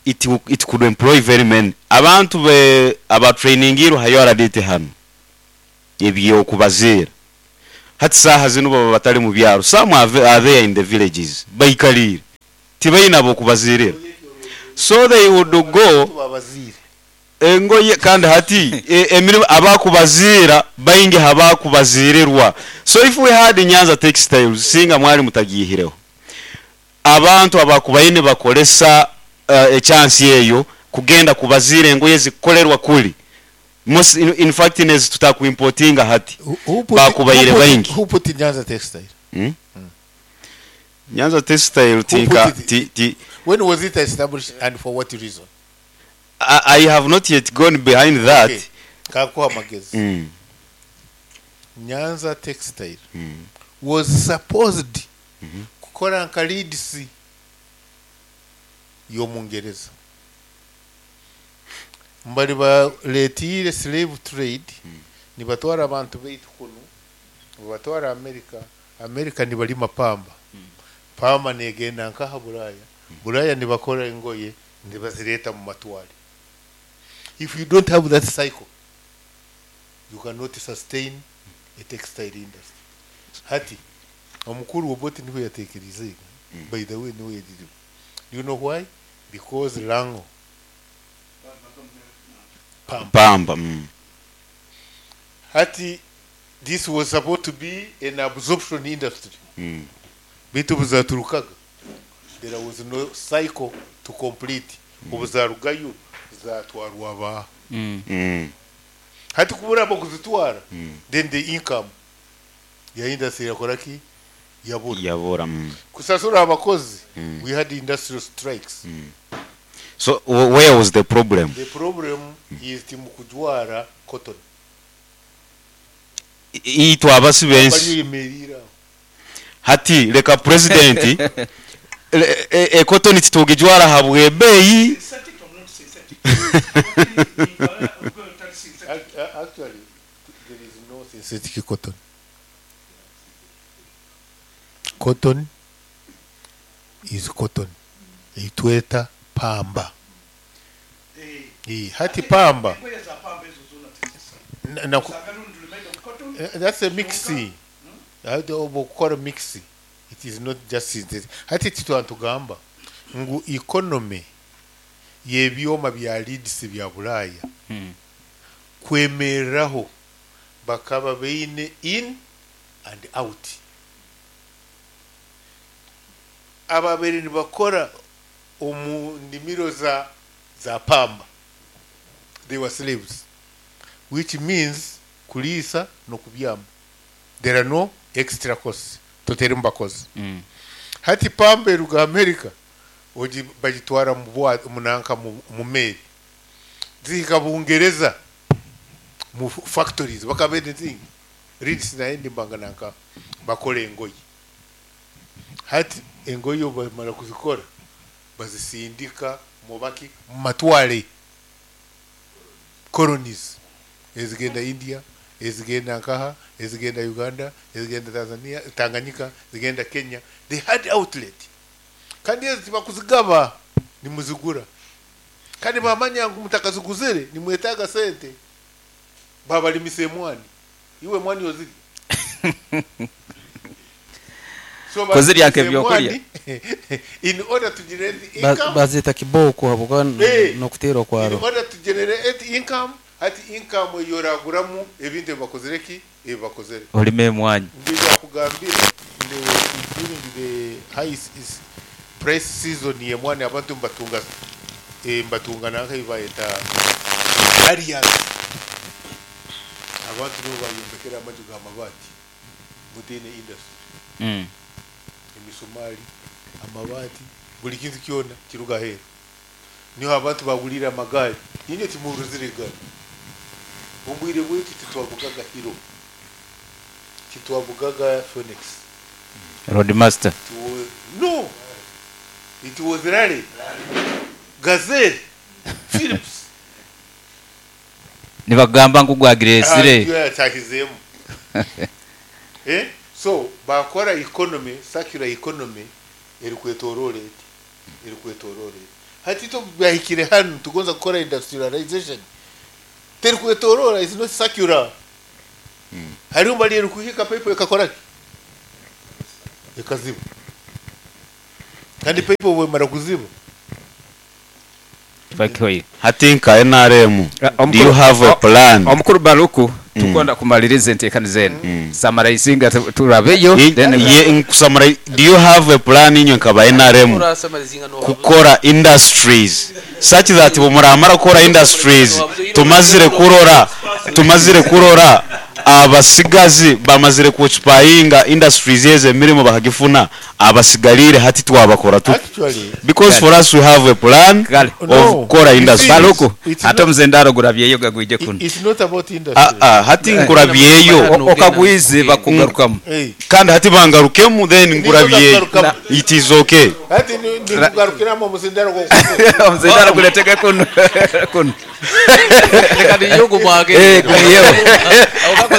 [SPEAKER 7] It could employ very many. Abantu be abatrainingirwe hayo aradite hano. Ebyo kubaziira. Hati saaha zinu baba batari mu byaro, some are there in the villages baikariire tibaine ab'okubaziirira so they would go engoye kandi hati emirimo abakubaziira baingi habakubaziirirwa so if we had Nyanza textiles singa mwari mutagiihireho abantu abakubaire nibakoresa echansi eyo kugenda kubaziira engoye zikukorerwa kuri Most in fact nezi tutaku importinga hati bakubaire baingi.
[SPEAKER 1] Who put Nyanza textile?
[SPEAKER 7] Hmm? Nyanza textile tinka ti ti
[SPEAKER 1] When was it established and for what reason?
[SPEAKER 7] I, I have not yet gone behind that.
[SPEAKER 1] Okay. Kankuha amagezi. Nyanza textile was supposed kukora nka Leeds y'omungereza. Mbari bareetiire slave trade nibatwara abantu baitu kunu nibabatwara America, America nibarima pamba, pamba negenda nkaha Buraya, Buraya nibakora engoye nibazireeta mu matware. If you don't have that cycle, you cannot sustain a textile industry. Hati omukuru Obote niwe yateekerize, by the way niwe yagiriwe. Do you know why? Because Lango Pamba.
[SPEAKER 7] Pamba.
[SPEAKER 1] Hati this was supposed to be an absorption industry. Bitu buzaturukaga. There was no cycle to complete. Obuzarugayo zatwarwa ba. Hati kubura kuzitwara. Then the income ya industry yakora ki? Yabura.
[SPEAKER 7] Yabura.
[SPEAKER 1] Kusasura abakozi. We had industrial strikes.
[SPEAKER 7] So where was the problem?
[SPEAKER 1] The problem is timukujwara cotton.
[SPEAKER 7] Itwe abasi bensi. Hati leka president e cotton titugijwara habwe beyi.
[SPEAKER 1] Actually there is no synthetic cotton. Cotton is cotton. Itweta pamba. Hati pamba. That's a mixing. Obukora mixing. It is not just synthetic. Hati titwantugamba ngu economy yebyoma bya Leeds bya Bulaya. Kwemereraho bakaba beine in and out. Ababere nibakora omu ndimiro za pamba. They were slaves, which means kulisa no kubyama. There are no extra costs. Totere mbakozi. Hati pamba eruga America oji bagitwara mu munanka mu meri. Zihika Bungereza mu factories bakabende zingi. Leeds na endi mbangananka bakore engoyi. Hati engoyi bamara kuzikora bazisindika mubaki matwale colonies ezigenda India, ezigenda nkaha, ezigenda Uganda, ezigenda Tanzania, Tanganyika, ezigenda Kenya. They had outlet. Kandi ezi bakuzigaba nimuzigura. Kandi bamanya ngu mutakaziguzire nimwetaga sente. Babalimise mwani. Iwe mwani oziri. So
[SPEAKER 3] Koziri yake byokulya.
[SPEAKER 1] In order to generate income,
[SPEAKER 4] bazeta kiboko habuka no kutero kwaro.
[SPEAKER 1] In order to generate income, hati income yoraguramu ebintu bakozereki ebakozere.
[SPEAKER 3] Olime mwanyi.
[SPEAKER 1] Ndiza kugambira during the high is price season ye mwani abantu mbatunga mbatunga nanka ibayeta areas. Abantu no bayombekera amaju ga mabati mutene industry. Emisumari, amabati, buli kintu kyona kiruga heru. Niho abantu bagulira amagari. Nyine timuruzire gari. Ombwire bweki titwabugaga Hero. Titwabugaga Phoenix.
[SPEAKER 3] Roadmaster.
[SPEAKER 1] No. It was Raleigh. Gazelle. Philips.
[SPEAKER 3] Nibagamba ngu gwagiresire.
[SPEAKER 1] Yatahizemu. So bakora economy, circular economy erikwetorore. Erikwetorore. Hati to byahikire hano tugonza gukora industrialization. Terikwetorora is not circular. Hariho mbali erikuhika pipe ekakora ki? Ekaziba. Kandi pipe obu emara kuziba.
[SPEAKER 3] Kiba kihweire.
[SPEAKER 7] Hati nka nrm, do you have a plan?
[SPEAKER 3] Omukuru Baluku, tukwenda kumaliriza enteekaniza enu. Samaraizinga turabeyo then.
[SPEAKER 7] Ye nkusamara, do you have a plan inywe nka ba nrm kukora industries such that bwemuramara kukora industries tumazire kurora tumazire kurora abasigazi bamazire ku occupyinga industries ezo emirimo bakagifuna abasigariire hati twabakora tuta
[SPEAKER 1] Actually,
[SPEAKER 7] because for us we have a plan
[SPEAKER 3] Kale.
[SPEAKER 7] of
[SPEAKER 1] No.
[SPEAKER 7] kukora industries.
[SPEAKER 3] Baluku,
[SPEAKER 1] It's
[SPEAKER 3] ate
[SPEAKER 1] not-
[SPEAKER 3] omuzendaro gurabyeyo gagwije kunu.
[SPEAKER 1] It's not about industry.
[SPEAKER 7] Ah, ah, hati nkurabyeyo
[SPEAKER 3] Okagwize bakugarukamu.
[SPEAKER 1] Hey.
[SPEAKER 7] kandi hati bangarukemu then nkurabyeyo
[SPEAKER 1] Nikugarukamu.
[SPEAKER 7] it is okay.
[SPEAKER 1] Hati nikugarukiramu omuzindaro gw'okukuza.
[SPEAKER 3] Omuzendaro guretege kunu. Kunu.
[SPEAKER 4] Reka niyo mwage.
[SPEAKER 3] Eh, gumiyeho.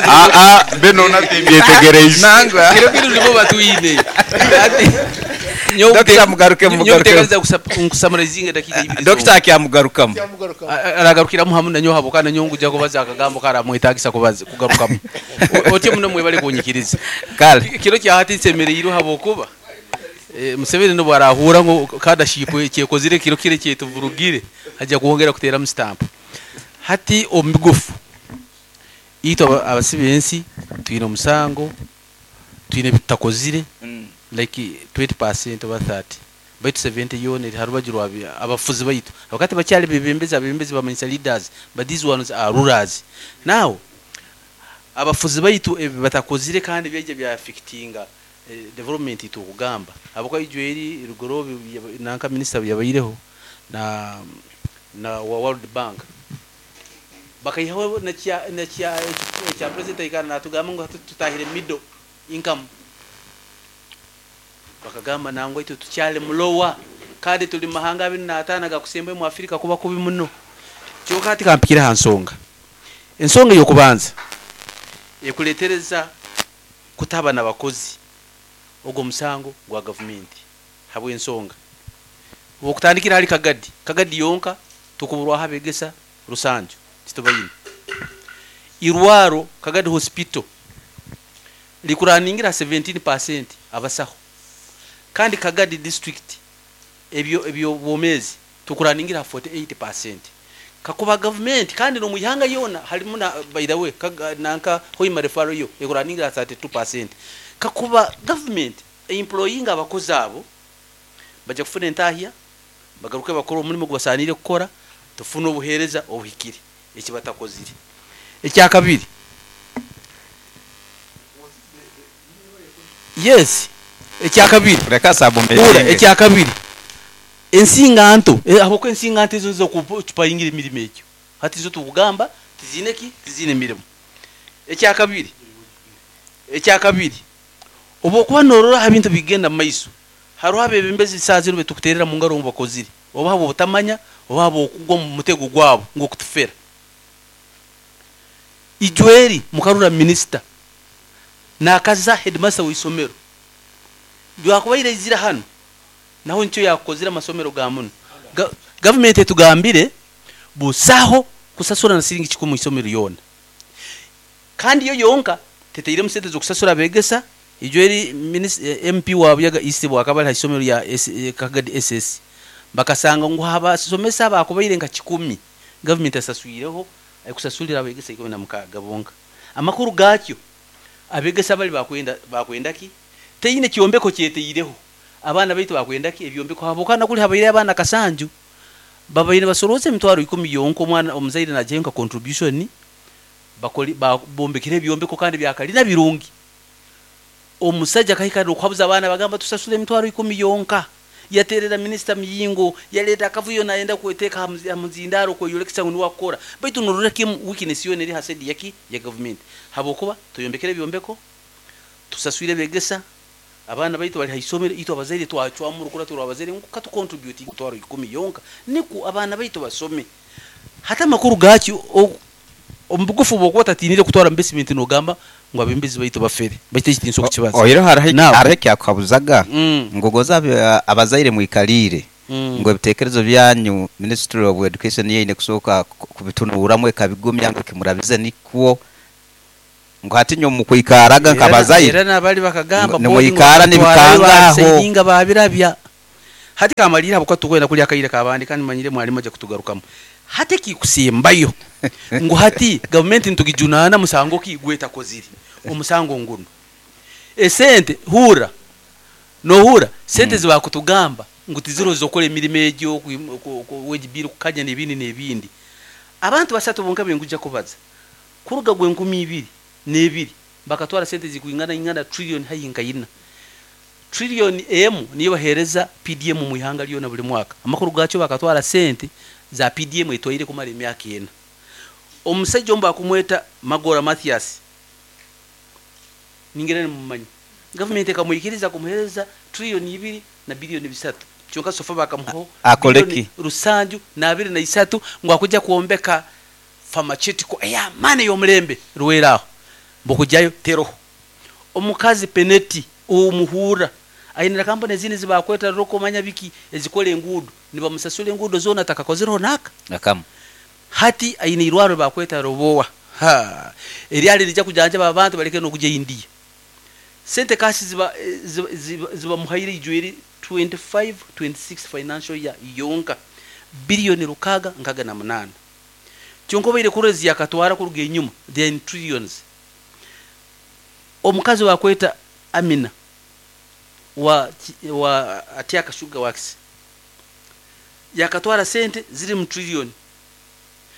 [SPEAKER 7] Ah, ah, beno natimbyetegyereze.
[SPEAKER 3] Nangwa.
[SPEAKER 4] Kiro kiro nibo batwine. Ati
[SPEAKER 3] Dokita mugaruke mugaruke.
[SPEAKER 4] Nyowe nkusamarizinga dakika ibiri.
[SPEAKER 3] Dokita akyamugarukamu.
[SPEAKER 1] Kyamugarukamu.
[SPEAKER 4] Aragarukiramu hamu na nyowe habwokuba nanyowe nguja kubaza akagambo karamwetagisa kubaza kugarukamu. Otyo muno mwebale kunyikiriza.
[SPEAKER 3] Kale.
[SPEAKER 4] Kiro kya hati nsemereirwe habwokuba Museveni nobwo arahura ngu cadaship kyekozire kiro kire kyetuvurugire ajja kwongera kuteeramu stamp. Hati omu bigufu itwe abasibe ensi twine omusango, twine ebitutakozire like 20% oba 30 baitu 70 yoona eri harubaju rwa abafuzi baitu. Abakati bakyali bebembezi, abebembezi bamanyisa leaders, but these ones are rulers. Now abafuzi baitu ebi batakozire kandi byaija bya affectinga development itwe okugamba. Habwokuba ijo eri Rugorobi nanka minister yabaireho na wa World Bank bakaihaho na kya na kya ekya president aikara natugamba ngu tutahire middle income, bakagamba nangwa itwe tukyali mulowa kandi tuli mahanga abiri n'ataano agakusemba omu Africa kuba kubi muno. Kyonka hati kampikire aha nsonga. Ensonga ey'okubanza ekuretereza kutaba n'abakozi ogwo musango gwa gavumenti habw'ensonga. Okutandikira hali Kagadi, Kagadi yonka tukuburwaho abegesa Rusanju titubaine. Irwaro Kagadi Hospital likuraningira 17% abasaho. Kandi Kagadi district ebyo ebyo bwomezi tukuraningira 48%. Kakuba government kandi no muihanga yona halimu na by the way nanka Hoima referral yo ekuraningira 32%. Kakuba government employing abakozi abo bajya kufuna entahya bagaruke bakora omurimo gubasanire kukora tufune obuhereza obuhikire eki batakozire. Ekya kabiri, yes, ekya kabiri
[SPEAKER 3] Reka sabu
[SPEAKER 4] Ura, ekya kabiri ensinganto habwokuba ensinganto ezo nizo kucupayingira emirimo egyo hati zo tukugamba tizine ki tizine mirimo. Ekya kabiri, ekya kabiri obwokuba norora aha bintu bigenda mu maiso hariho abebembezi saaha zinu betukuterera mu ngaro ngu bakozire oba habwo obutamanya oba habwo okugwa omu mutego gwabo ngu okutufera. Ijweri mukarura minisita nakaza headmaster w'isomero byakubaire izira hano naho nikyo yakozire amasomero ga muno. Government etugambire busaho kusasura na siringi kikumi isomero yona, kandi yo yonka teteiremu sente zokusasura abegesa. Ijweri MP wa Buyaga East bwakaba ari isomero ya Kagadi SS bakasanga ngu abasomesa bakubaire nka 10 government asasuireho ekusasulira abegesa 16 bonka. Amakuru gakyo abegesa bali bakwenda ki teine kyombeko kyeteireho abaana baitu bakwenda ki ebyombeko habokana kuli habaire abaana kasanju babaire basoroze emitwaro 10 yonka omwana omuzaire najenka contribution bakoli bombekire ebyombeko kandi byakalina birungi. Omusajja kahika okwabuza abaana bagamba tusasule emitwaro 10 yonka. Yaterera minister Muyingo yaleta akavuyo naenda kweteka hamuzindaro kweyolekesa ngu niwakora baitu norora kim weakness yone eri hasedi yaki ya government habokuba tuyombekere byombeko tusaswire begesa abaana baitu bali haisomero itu abazaire twachwamu rukura turi abazaire ngu katu contribute mitwaro 10 yonka niku abaana baitu basome. Hata makuru gachi omubugufu bwokuba tatinire kutwara investment nogamba ngu abembezi baitu bafere baitu ekitinso kukibaza.
[SPEAKER 3] Oyiro hariho ekyakuhabuzaga ngu goza abazaire mwikalire ngu ebitekerezo byanyu Ministry of Education yeine kusooka kubitunuramu ekabigumya ngu kimurabize nikwo. Ngu hati nyowe mukwikaraga
[SPEAKER 4] Era
[SPEAKER 3] nkabazaire
[SPEAKER 4] era nabari bakagamba
[SPEAKER 3] ngu
[SPEAKER 4] boarding
[SPEAKER 3] nimwikara
[SPEAKER 4] bakatwarayo
[SPEAKER 3] nibikanga aho.
[SPEAKER 4] babisaidinga babirabya. Hati kamalire ahabw'okuba titukwenda kurya akaire kabandi kandi manyire mwarimu aija kutugarukamu. Hati ekikusembayo ngu hati gavumenti nitugijunaana musango ki gwetakozire? Omusango ngunu. Esente hurra nohurra sente ezibakutugamba ngu tiziriho z'okukora emirimo egyo wage bill kukanya n'ebindi n'ebindi. Abantu basatu bonka benkuja kubaza kuruga gwenkumi ibiri n'ebiri bakatwara sente ezikwingana ingana trillion haihi nka ina. Trillion emu niyo bahereza PDM omu ihanga ryona buri mwaka. Amakuru gakyo bakatwara sente za PDM etwaire kumara emyaka ena. Omusaija omu bakumweta Magoola Mathias ningira nimumumanya. Gavumenti ekamwikiriza kumuhereza trillion ibiri na billion bisatu kyonka so far bakamuhaho
[SPEAKER 3] Akore
[SPEAKER 4] billion
[SPEAKER 3] ki?
[SPEAKER 4] rusanju n'abiri na isatu ngu akuja kwombeka pharmaceutical ey'amaani ey'omulembe Rwera aho. Mbu kugyayo teroho. Omukazi Peneti omuhuura aine na kampuni ezindi ezi baakweta Roko manya biki ezikora enguudo nibamusasura enguudo zoona atakakozireho naaka.
[SPEAKER 3] Nakamu.
[SPEAKER 4] Hati aine eirwariro baakweta Roboa ha eryari nirija kujanjaba abantu bareke n'okugya India. Sente cash ziba zibamuhaire ijwire 25, 26 financial year yonka billion 668. Kyonka obaire kurora ezi yakatwara kuruga enyuma they are in trillions. Omukazi owakweta Amina wa wa Atiaka Sugar Works yakatwara sente ziri mu trillion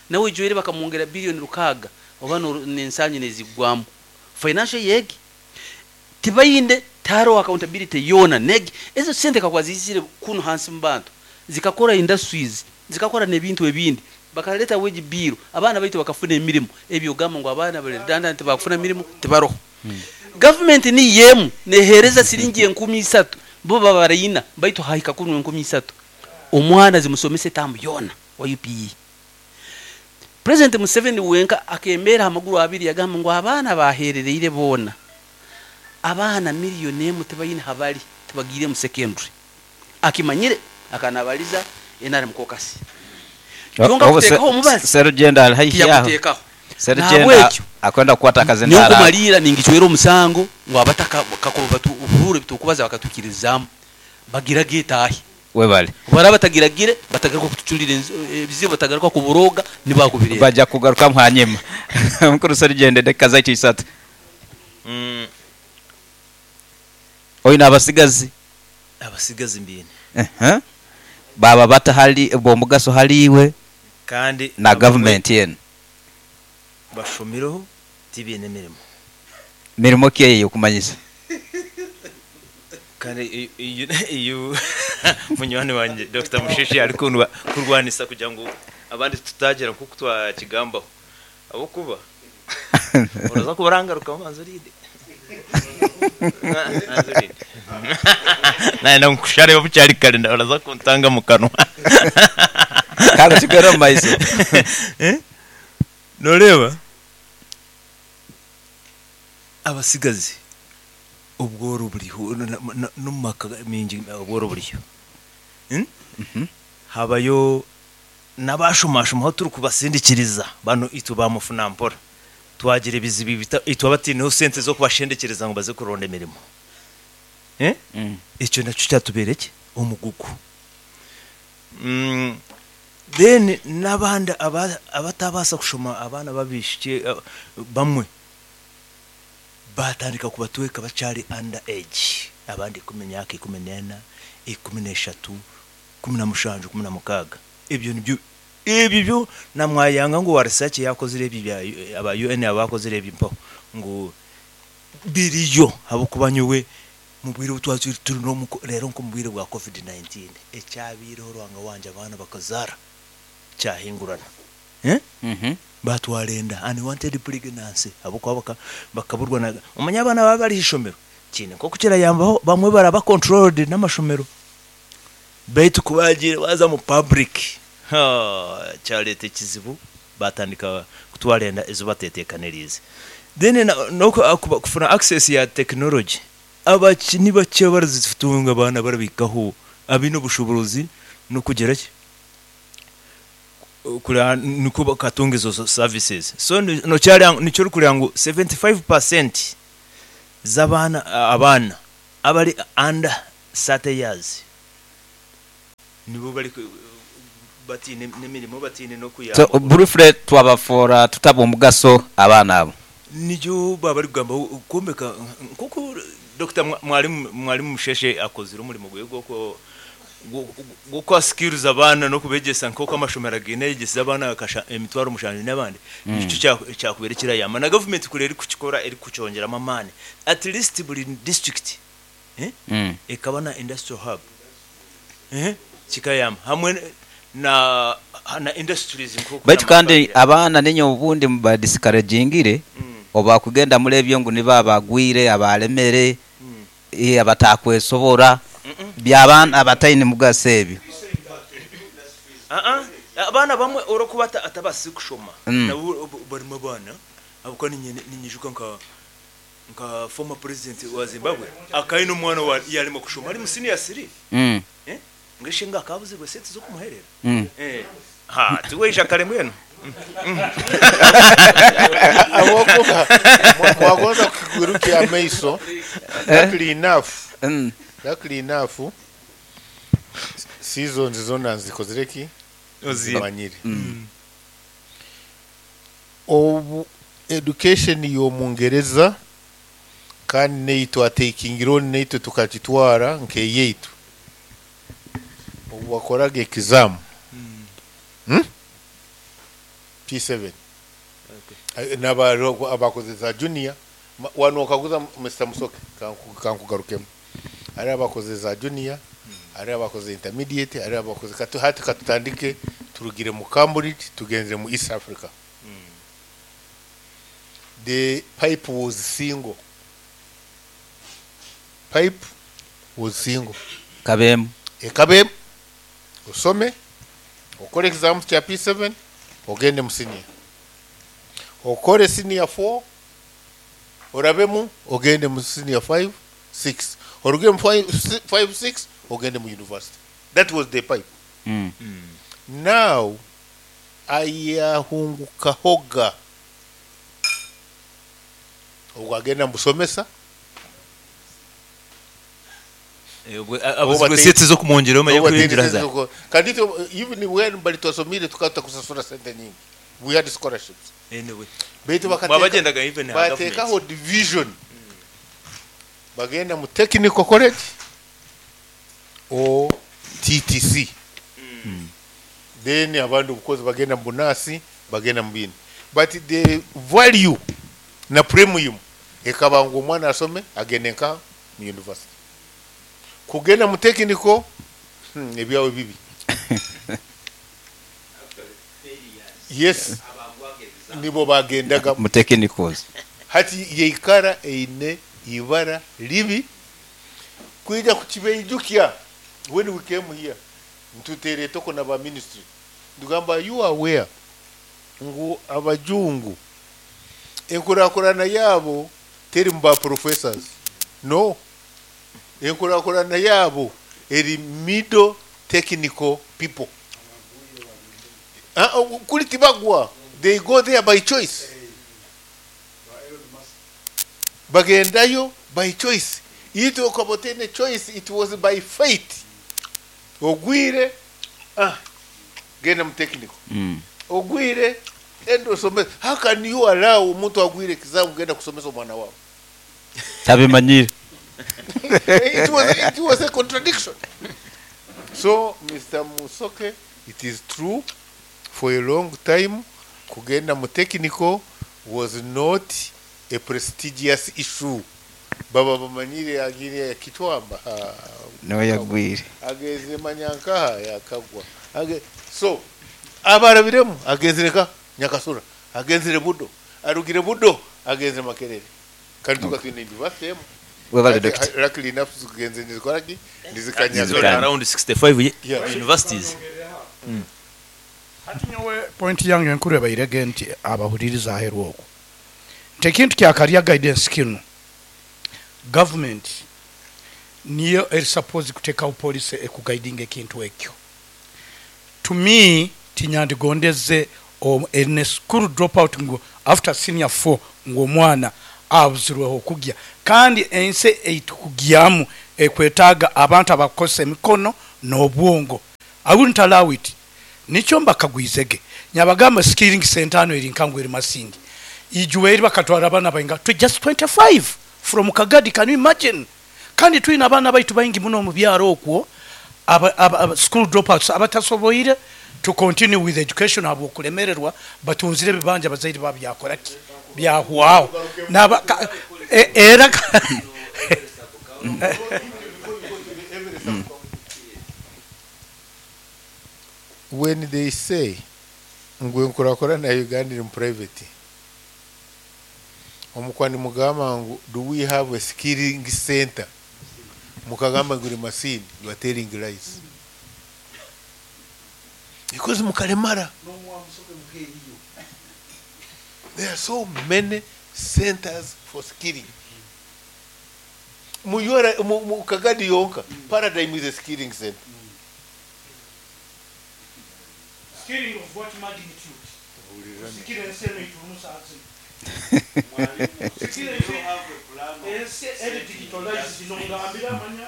[SPEAKER 4] nawe ijwire bakamwongera billion 6 oba nensangi nezigwamu. Financial year egi tibaine tihariho accountability yoona negi ezo sente kakuba ziizire kunu hansi mubantu zikakora industries zikakora nebintu ebindi bakareta wage bill abaana baitu bakafuna emirimo ebyogamba ngu abaana bari redundant tibakufuna mirimo tibaroho. Government niyo emu nehereza siringi 3000 bo babaraina baitu hahika kunu 3000 omwana zimusomese term yoona wa UPE. President Museveni wenka akemeera aha maguru abiri yagamba ngu abaana baherereire boona abaana million emu tibaine habari tibagiire mu secondary. Akimanyire akanabariza nrm caucus. Kyonka
[SPEAKER 3] Obu
[SPEAKER 4] kuteekaho omubazi
[SPEAKER 3] Serugendo ari haihi aho.
[SPEAKER 4] tiyaguteekaho.
[SPEAKER 3] Serugendo
[SPEAKER 4] Nahabwekyo
[SPEAKER 3] akwenda kukwata
[SPEAKER 4] nyowe
[SPEAKER 3] akazindaaro ako.
[SPEAKER 4] nkumariira ningicwera omusango ngu abataka kakuba batuhuurra ebitukubaza bakatwikirizaamu bagirage etaahe.
[SPEAKER 3] Webale.
[SPEAKER 4] Obu baraaba batagiragire batagaruka kutucurira ebizibu batagaruka kuborooga nibakubireeba.
[SPEAKER 3] Baja kugarukamu hanyima. Mukuru Serugendo edakika zaitu isatu. Oine abasigazi?
[SPEAKER 8] Abasigazi mbiine.
[SPEAKER 3] Ehe. Baaba bata hali b'omugaso hali iwe
[SPEAKER 8] Kandi
[SPEAKER 3] na
[SPEAKER 8] abamwe
[SPEAKER 3] gavumenti enu?
[SPEAKER 8] bashomireho tibaine mirimo.
[SPEAKER 3] Mirimo ki eyo ey'okumanyisa?
[SPEAKER 8] Kandi eyu munywani wangye Dokita Mushishi arikurwanisa kugira ngu abandi tutagira nk'oku twakigambaho ahabw'okuba oraza kuba orangarukamu banza orinde. Banza orinde. Nayenda ngu nkushareho bukyari kare oraza kuntanga omu kanwa.
[SPEAKER 3] Kare tugende omu maiso.
[SPEAKER 8] Noreeba abatsigazi obworo buriho n'omu maka maingi obworo buriyo. Habayo n'abaashomashomaho turikubasindikiriza banu itwe ba mufunampora twagira ebizibu itwe abataineho sente z'okubashendekyereza ngu baze kuronda emirimo. Ekyo nakyo kyatubeera ki? Omugugu. Then n'abandi abatabaasa kushoma abaana b'abaishiki bamwe baatandika kubatweka bakyari under age abandi ikumi myaka 14, 13, 17, 16. Ebyo nibyo ebyo byo na mwayanga ngu wa research yaakozire ebi bya aba UN abaakozire ebi mpaho ngu biriyo ahabw'okuba nyowe Omu bwire obu twatwire turi n'omu reero nk'omu bwire bwa Covid 19 ekyabaireho Ruhanga wangye abaana bakazaara kyahingurana eh batwara enda unwanted pregnancy ahabw'okuba baka bakaburwa na omanye abaana baba bari ah'ishomero kiine nk'oku kirayambaho bamwe baraba controlled n'amashomero beitu ku baagiire baaza omu public haa kyareeta ekizibu batandika kutwara enda ezi bateteekaniriize then na n'oku kufuna access ya technology Abakye ni bakye abarizitunga abaana abaribahikaho abaine obushoboorozi n'okugira ki? kureba nikwo bakatunga ezo services. So nokyareba nikyo orikureba ngu 75% z'abaana abaana abari under 30 years nibo bari bataine n'emirimo bataine
[SPEAKER 3] So
[SPEAKER 8] n'okuyambwa.
[SPEAKER 3] briefly twabafoora tuta ab'omugaso abaana abo?
[SPEAKER 8] Nikyo baba barikugamba kwombeka nk'oku Dokita Mwalimu Mwalimu Musheshe akozire omurimo gwe gw'oku gw'okuha skills abaana n'okubegyesa nk'oku amashomero againe ayegyesize abaana 70,000 n'abandi nikyo kyakubaire kirayamba na gavumenti kuri erikukikora erikukyongyeramu amaani at least buri district ekaba na industrial hub kikayamba hamwe na na industries nk'oku
[SPEAKER 3] Baitu kandi abaana ninye obundi mubadiscouragingire obakugenda muri ebyo ngu nibo abagwire, abalemere, abatakwesobora, by'abaana abataine mugaso ebyo.
[SPEAKER 8] Aa, abaana abamwe orikuba atabaasize kushoma nabo barimu abaana ahabw'okuba ninyijuka nka nka former president wa Zimbabwe akaba aine omwana owa yarema kushoma ari mu senior siri ngu ishe ngu akaba abuzirwe sente z'okumuherera ha tiwaija kare mbwenu.
[SPEAKER 1] Ahabw'okuba mwagonza kukigurukya amaiso, luckily enough, luckily enough, seasons zona nzikozire ki? Nzimanyire. Obu education y'omungereza kandi n'ei twateikingire on naitwe tukagitwara nk'eyaitu, obu wakoraga exam, P7, n'abariho abakozire za junior, wanu okaguza Mister Musoke, kankugarukemu. Hariho abakozire za junior, hariho abakozire intermediate, hariho abakozire katu hati katutandike turugire mu Cambridge tugenzire mu East Africa. The pipe was single. Pipe was single.
[SPEAKER 3] Ekaba emu.
[SPEAKER 1] Ekaba emu. Osome, okore exam kya P7, ogende mu senior. Okore senior 4, orabemu, ogende mu senior 5, 6. Oruge mu 5, 6, ogende mu university. That was the pipe. Now, ayahungukahoga obwo agenda mubusomesa.
[SPEAKER 8] Abuzirwe sente z'okumwongyera omanye kuyingira za.
[SPEAKER 1] Kandi itwe even when bali twasomire tukaba tutakusasura sente nyingi. We had scholarships.
[SPEAKER 8] Anyway.
[SPEAKER 1] Baitu
[SPEAKER 8] Mwabagyendaga even aha government.
[SPEAKER 1] Bateekaho division. Bagenda mu technical college or TTC. Then abandi obukozi bagenda mu bunasi, bagenda mu bindi. But the value na premium ekaba ngu omwana asome agende nka mu university. Kugenda mu technical ebyawe bibi. Yes. Nibo bagendaga
[SPEAKER 3] mu technicals.
[SPEAKER 1] Hati yeikara eine ibara ribi kwija kukibeijukya. When we came here ntutere etoko na ba ministry, ndugamba, you are aware ngu abajungu enkurakurana yabo teri mu ba professors? No, enkurakurana yabo eri middle technical people. Ah, oh, kuri tibagwa, they go there by choice, bagendayo by choice. Itwe okaba otaine choice, it was by fate. Ogwire, ah, genda mu technical. Ogwire, enda osome. How can you allow omuntu agwire exam kugenda kusomesa omwana wawe?
[SPEAKER 3] Tabimanyire.
[SPEAKER 1] It was a contradiction. So Mr Musoke, it is true, for a long time kugenda mu technical was not a prestigious issue. Baba bamanyire agire kitwamba.
[SPEAKER 3] Niwe yagwire.
[SPEAKER 1] Ageze manyankaha yakagwa. So abarabiremu agenzire ka Nyakasura, agenzire Budo, arugire Budo, agenzire Makerere, kandi tukatwine university emu.
[SPEAKER 3] Webale, Doctor.
[SPEAKER 1] Luckily enough zigenze nizikoraki nizikanya.
[SPEAKER 3] Nizikanya.
[SPEAKER 8] Around 65 universities.
[SPEAKER 2] Hati nyowe point yange enkuru ebairege nti abahuririza aheru okwo nti ekintu kya career guidance kinu, government niyo eri suppose kutekaho policy ekuguidinga ekintu ekyo. To me, Tinyandigondeze any school drop out ngu after senior four ngu omwana abuzirwe hokugya. Kandi ensi eitukugyamu ekwetaaga abantu abakukozesa emikono nobwongo. I wouldn't allow it. Nikyo mbakagwizege. Nyabagamba skilling centre hanu eri nka ngu eri Masindi. Ijuba eri bakatwara abaana bainga to just 25 from Kagadi can you imagine? Kandi twine abaana baitu baingi muno omu byaro okwo aba aba school dropouts abatasoboire to continue with education ahabw'okulemererwa batunzire ebibanja abazaire baabo byakora ki? Byahwaho. Naba ka era
[SPEAKER 1] When they say ngu enkurakurana ya Uganda eri mu private, omukwa nimugamba ngu do we have a skilling center, mukagamba ngu eri Masindi, you are telling lies because mukaremara. There are so many centers for skilling. Mu URA, mu Kagadi yonka, Paradigm is a skilling center.
[SPEAKER 2] Skilling of what magnitude? Kusikira ensi eno eiturimu saaha zinu. Kusikira ensi ensi eri digitalized nongambira amanya.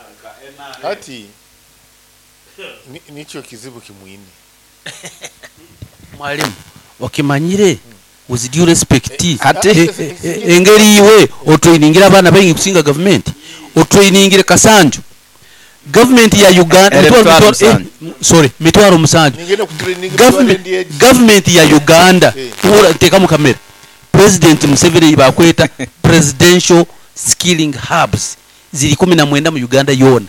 [SPEAKER 1] Hati nikyo kizibu kimwine.
[SPEAKER 4] Mwalimu, okimanyire with due respect,
[SPEAKER 3] Hati
[SPEAKER 4] engeri iwe otrainingire abaana baingi kusinga gavumenti, otrainingire Kasanju. Gavumenti ya Uganda,
[SPEAKER 3] Ere
[SPEAKER 4] mitwaro,
[SPEAKER 3] mitwaro
[SPEAKER 4] mitwaro, eh,
[SPEAKER 3] musanju.
[SPEAKER 4] sorry, mitwaro musanju.
[SPEAKER 1] Ningenda kutraininga mitwaro
[SPEAKER 4] Government,
[SPEAKER 1] endi egi.
[SPEAKER 4] gavumenti ya Uganda,
[SPEAKER 1] Eh.
[SPEAKER 4] tuhura nteekamu kamera. President Museveni bakweta presidential skilling hubs ziri 19 mu Uganda yoona.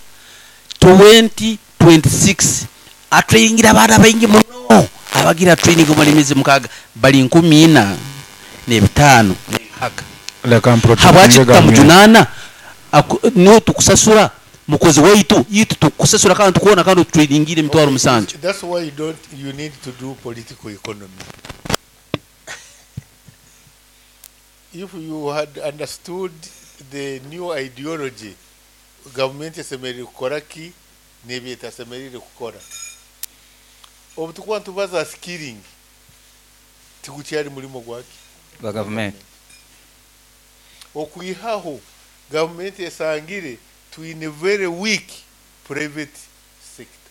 [SPEAKER 4] 2026 atrainingire abaana baingi muno abagira training omuri emyezi mukaaga bari 4500.
[SPEAKER 6] Leka
[SPEAKER 4] Habwaki
[SPEAKER 6] mprotectinge gavumenti.
[SPEAKER 4] tutamujunana? Niwe tukusasura mukozi waitu, itwe tukusasura kandi tukuona kandi otutrainingire emitwaro
[SPEAKER 1] Okay,
[SPEAKER 4] musanju.
[SPEAKER 1] that's why you don't, you need to do political economy. If you had understood the new ideology, government esemerire kukora ki n'ebi etasemerire kukora. Obu tukuba nitubaza skilling, tigukyari murimo gwaki?
[SPEAKER 3] Gwa gavumenti.
[SPEAKER 1] Okwihaho gavumenti esangire twine very weak private sector.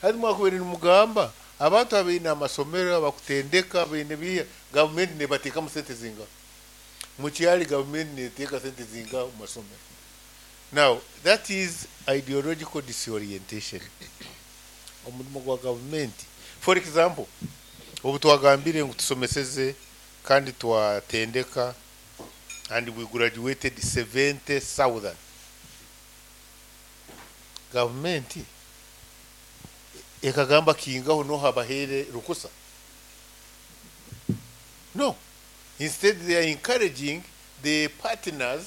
[SPEAKER 1] Hati mwakubaire nimugamba abantu abaine amasomero abakutendeka baine biiha, gavumenti nebateekamu sente zingaha? Mukyari gavumenti neteeka sente zingaha omu masomero? Now that is ideological disorientation. Omurimo gwa gavumenti, for example, obu twagambire ngu tusomeseze kandi twatendeka and we graduated 70,000. Gavumenti ekagamba kingaho noha bahere rukusa. No. Instead they are encouraging the partners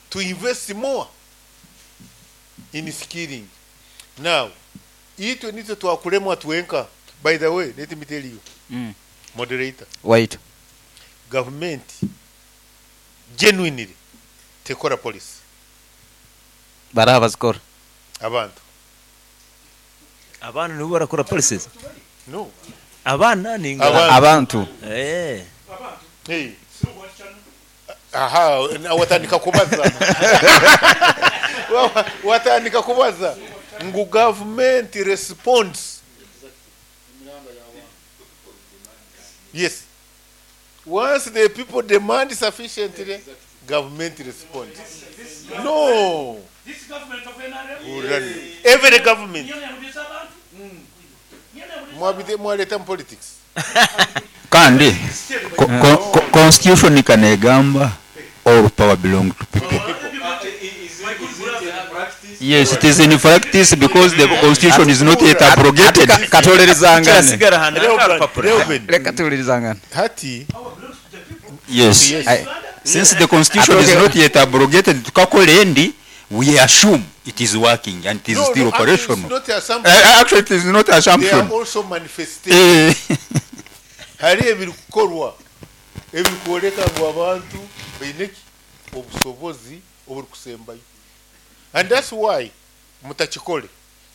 [SPEAKER 1] to invest more in skilling. Now, itwe nitwe twakulemwa twenka. By the way, let me tell you, moderator.
[SPEAKER 3] Wait.
[SPEAKER 1] Government genuinely tekora policy.
[SPEAKER 3] Baraha bazikora.
[SPEAKER 1] Abantu.
[SPEAKER 8] Abaana nibo barakora policies.
[SPEAKER 1] No.
[SPEAKER 8] Abaana ni
[SPEAKER 1] Abantu.
[SPEAKER 3] Abantu.
[SPEAKER 8] Eh.
[SPEAKER 1] Hey. Aha, na watandika kubaza. Watandika kubaza. Ngu government responds. Yes. Once the people demand sufficiently, government responds. No.
[SPEAKER 2] This government of NRM.
[SPEAKER 1] Urani. Every government. Mwabite mwaleta mu politics.
[SPEAKER 9] Kandi constitution kanegamba all power belong to people. Yes, it is in practice because the constitution is not yet abrogated.
[SPEAKER 3] Katolerezangane.
[SPEAKER 8] Kirasigara hano
[SPEAKER 1] Reuben, Reuben.
[SPEAKER 3] Reka tuwulirizangane.
[SPEAKER 1] Hati.
[SPEAKER 9] Yes.
[SPEAKER 1] Yes.
[SPEAKER 3] Aye.
[SPEAKER 9] Since the constitution is not yet abrogated, tukakora endi, we assume it is working and it is
[SPEAKER 1] No,
[SPEAKER 9] still
[SPEAKER 1] no, actually it's
[SPEAKER 9] operational.
[SPEAKER 1] not assumption.
[SPEAKER 9] Actually, it is not
[SPEAKER 1] They are
[SPEAKER 9] assumption.
[SPEAKER 1] also manifestations.
[SPEAKER 9] Eh.
[SPEAKER 1] Hari ebirikukorwa ebirikworeka ngu abantu baine ki? Obusobozi oburikusembayo. And that's why mutakikole.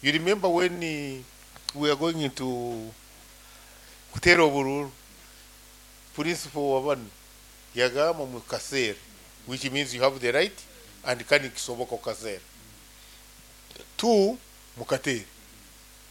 [SPEAKER 1] You remember when we are going into Kuteera oburuuru. Principal wa banu yagamba mukaseere which means you have the right and kandi nikisoboka kukaseera. Two, mukateere.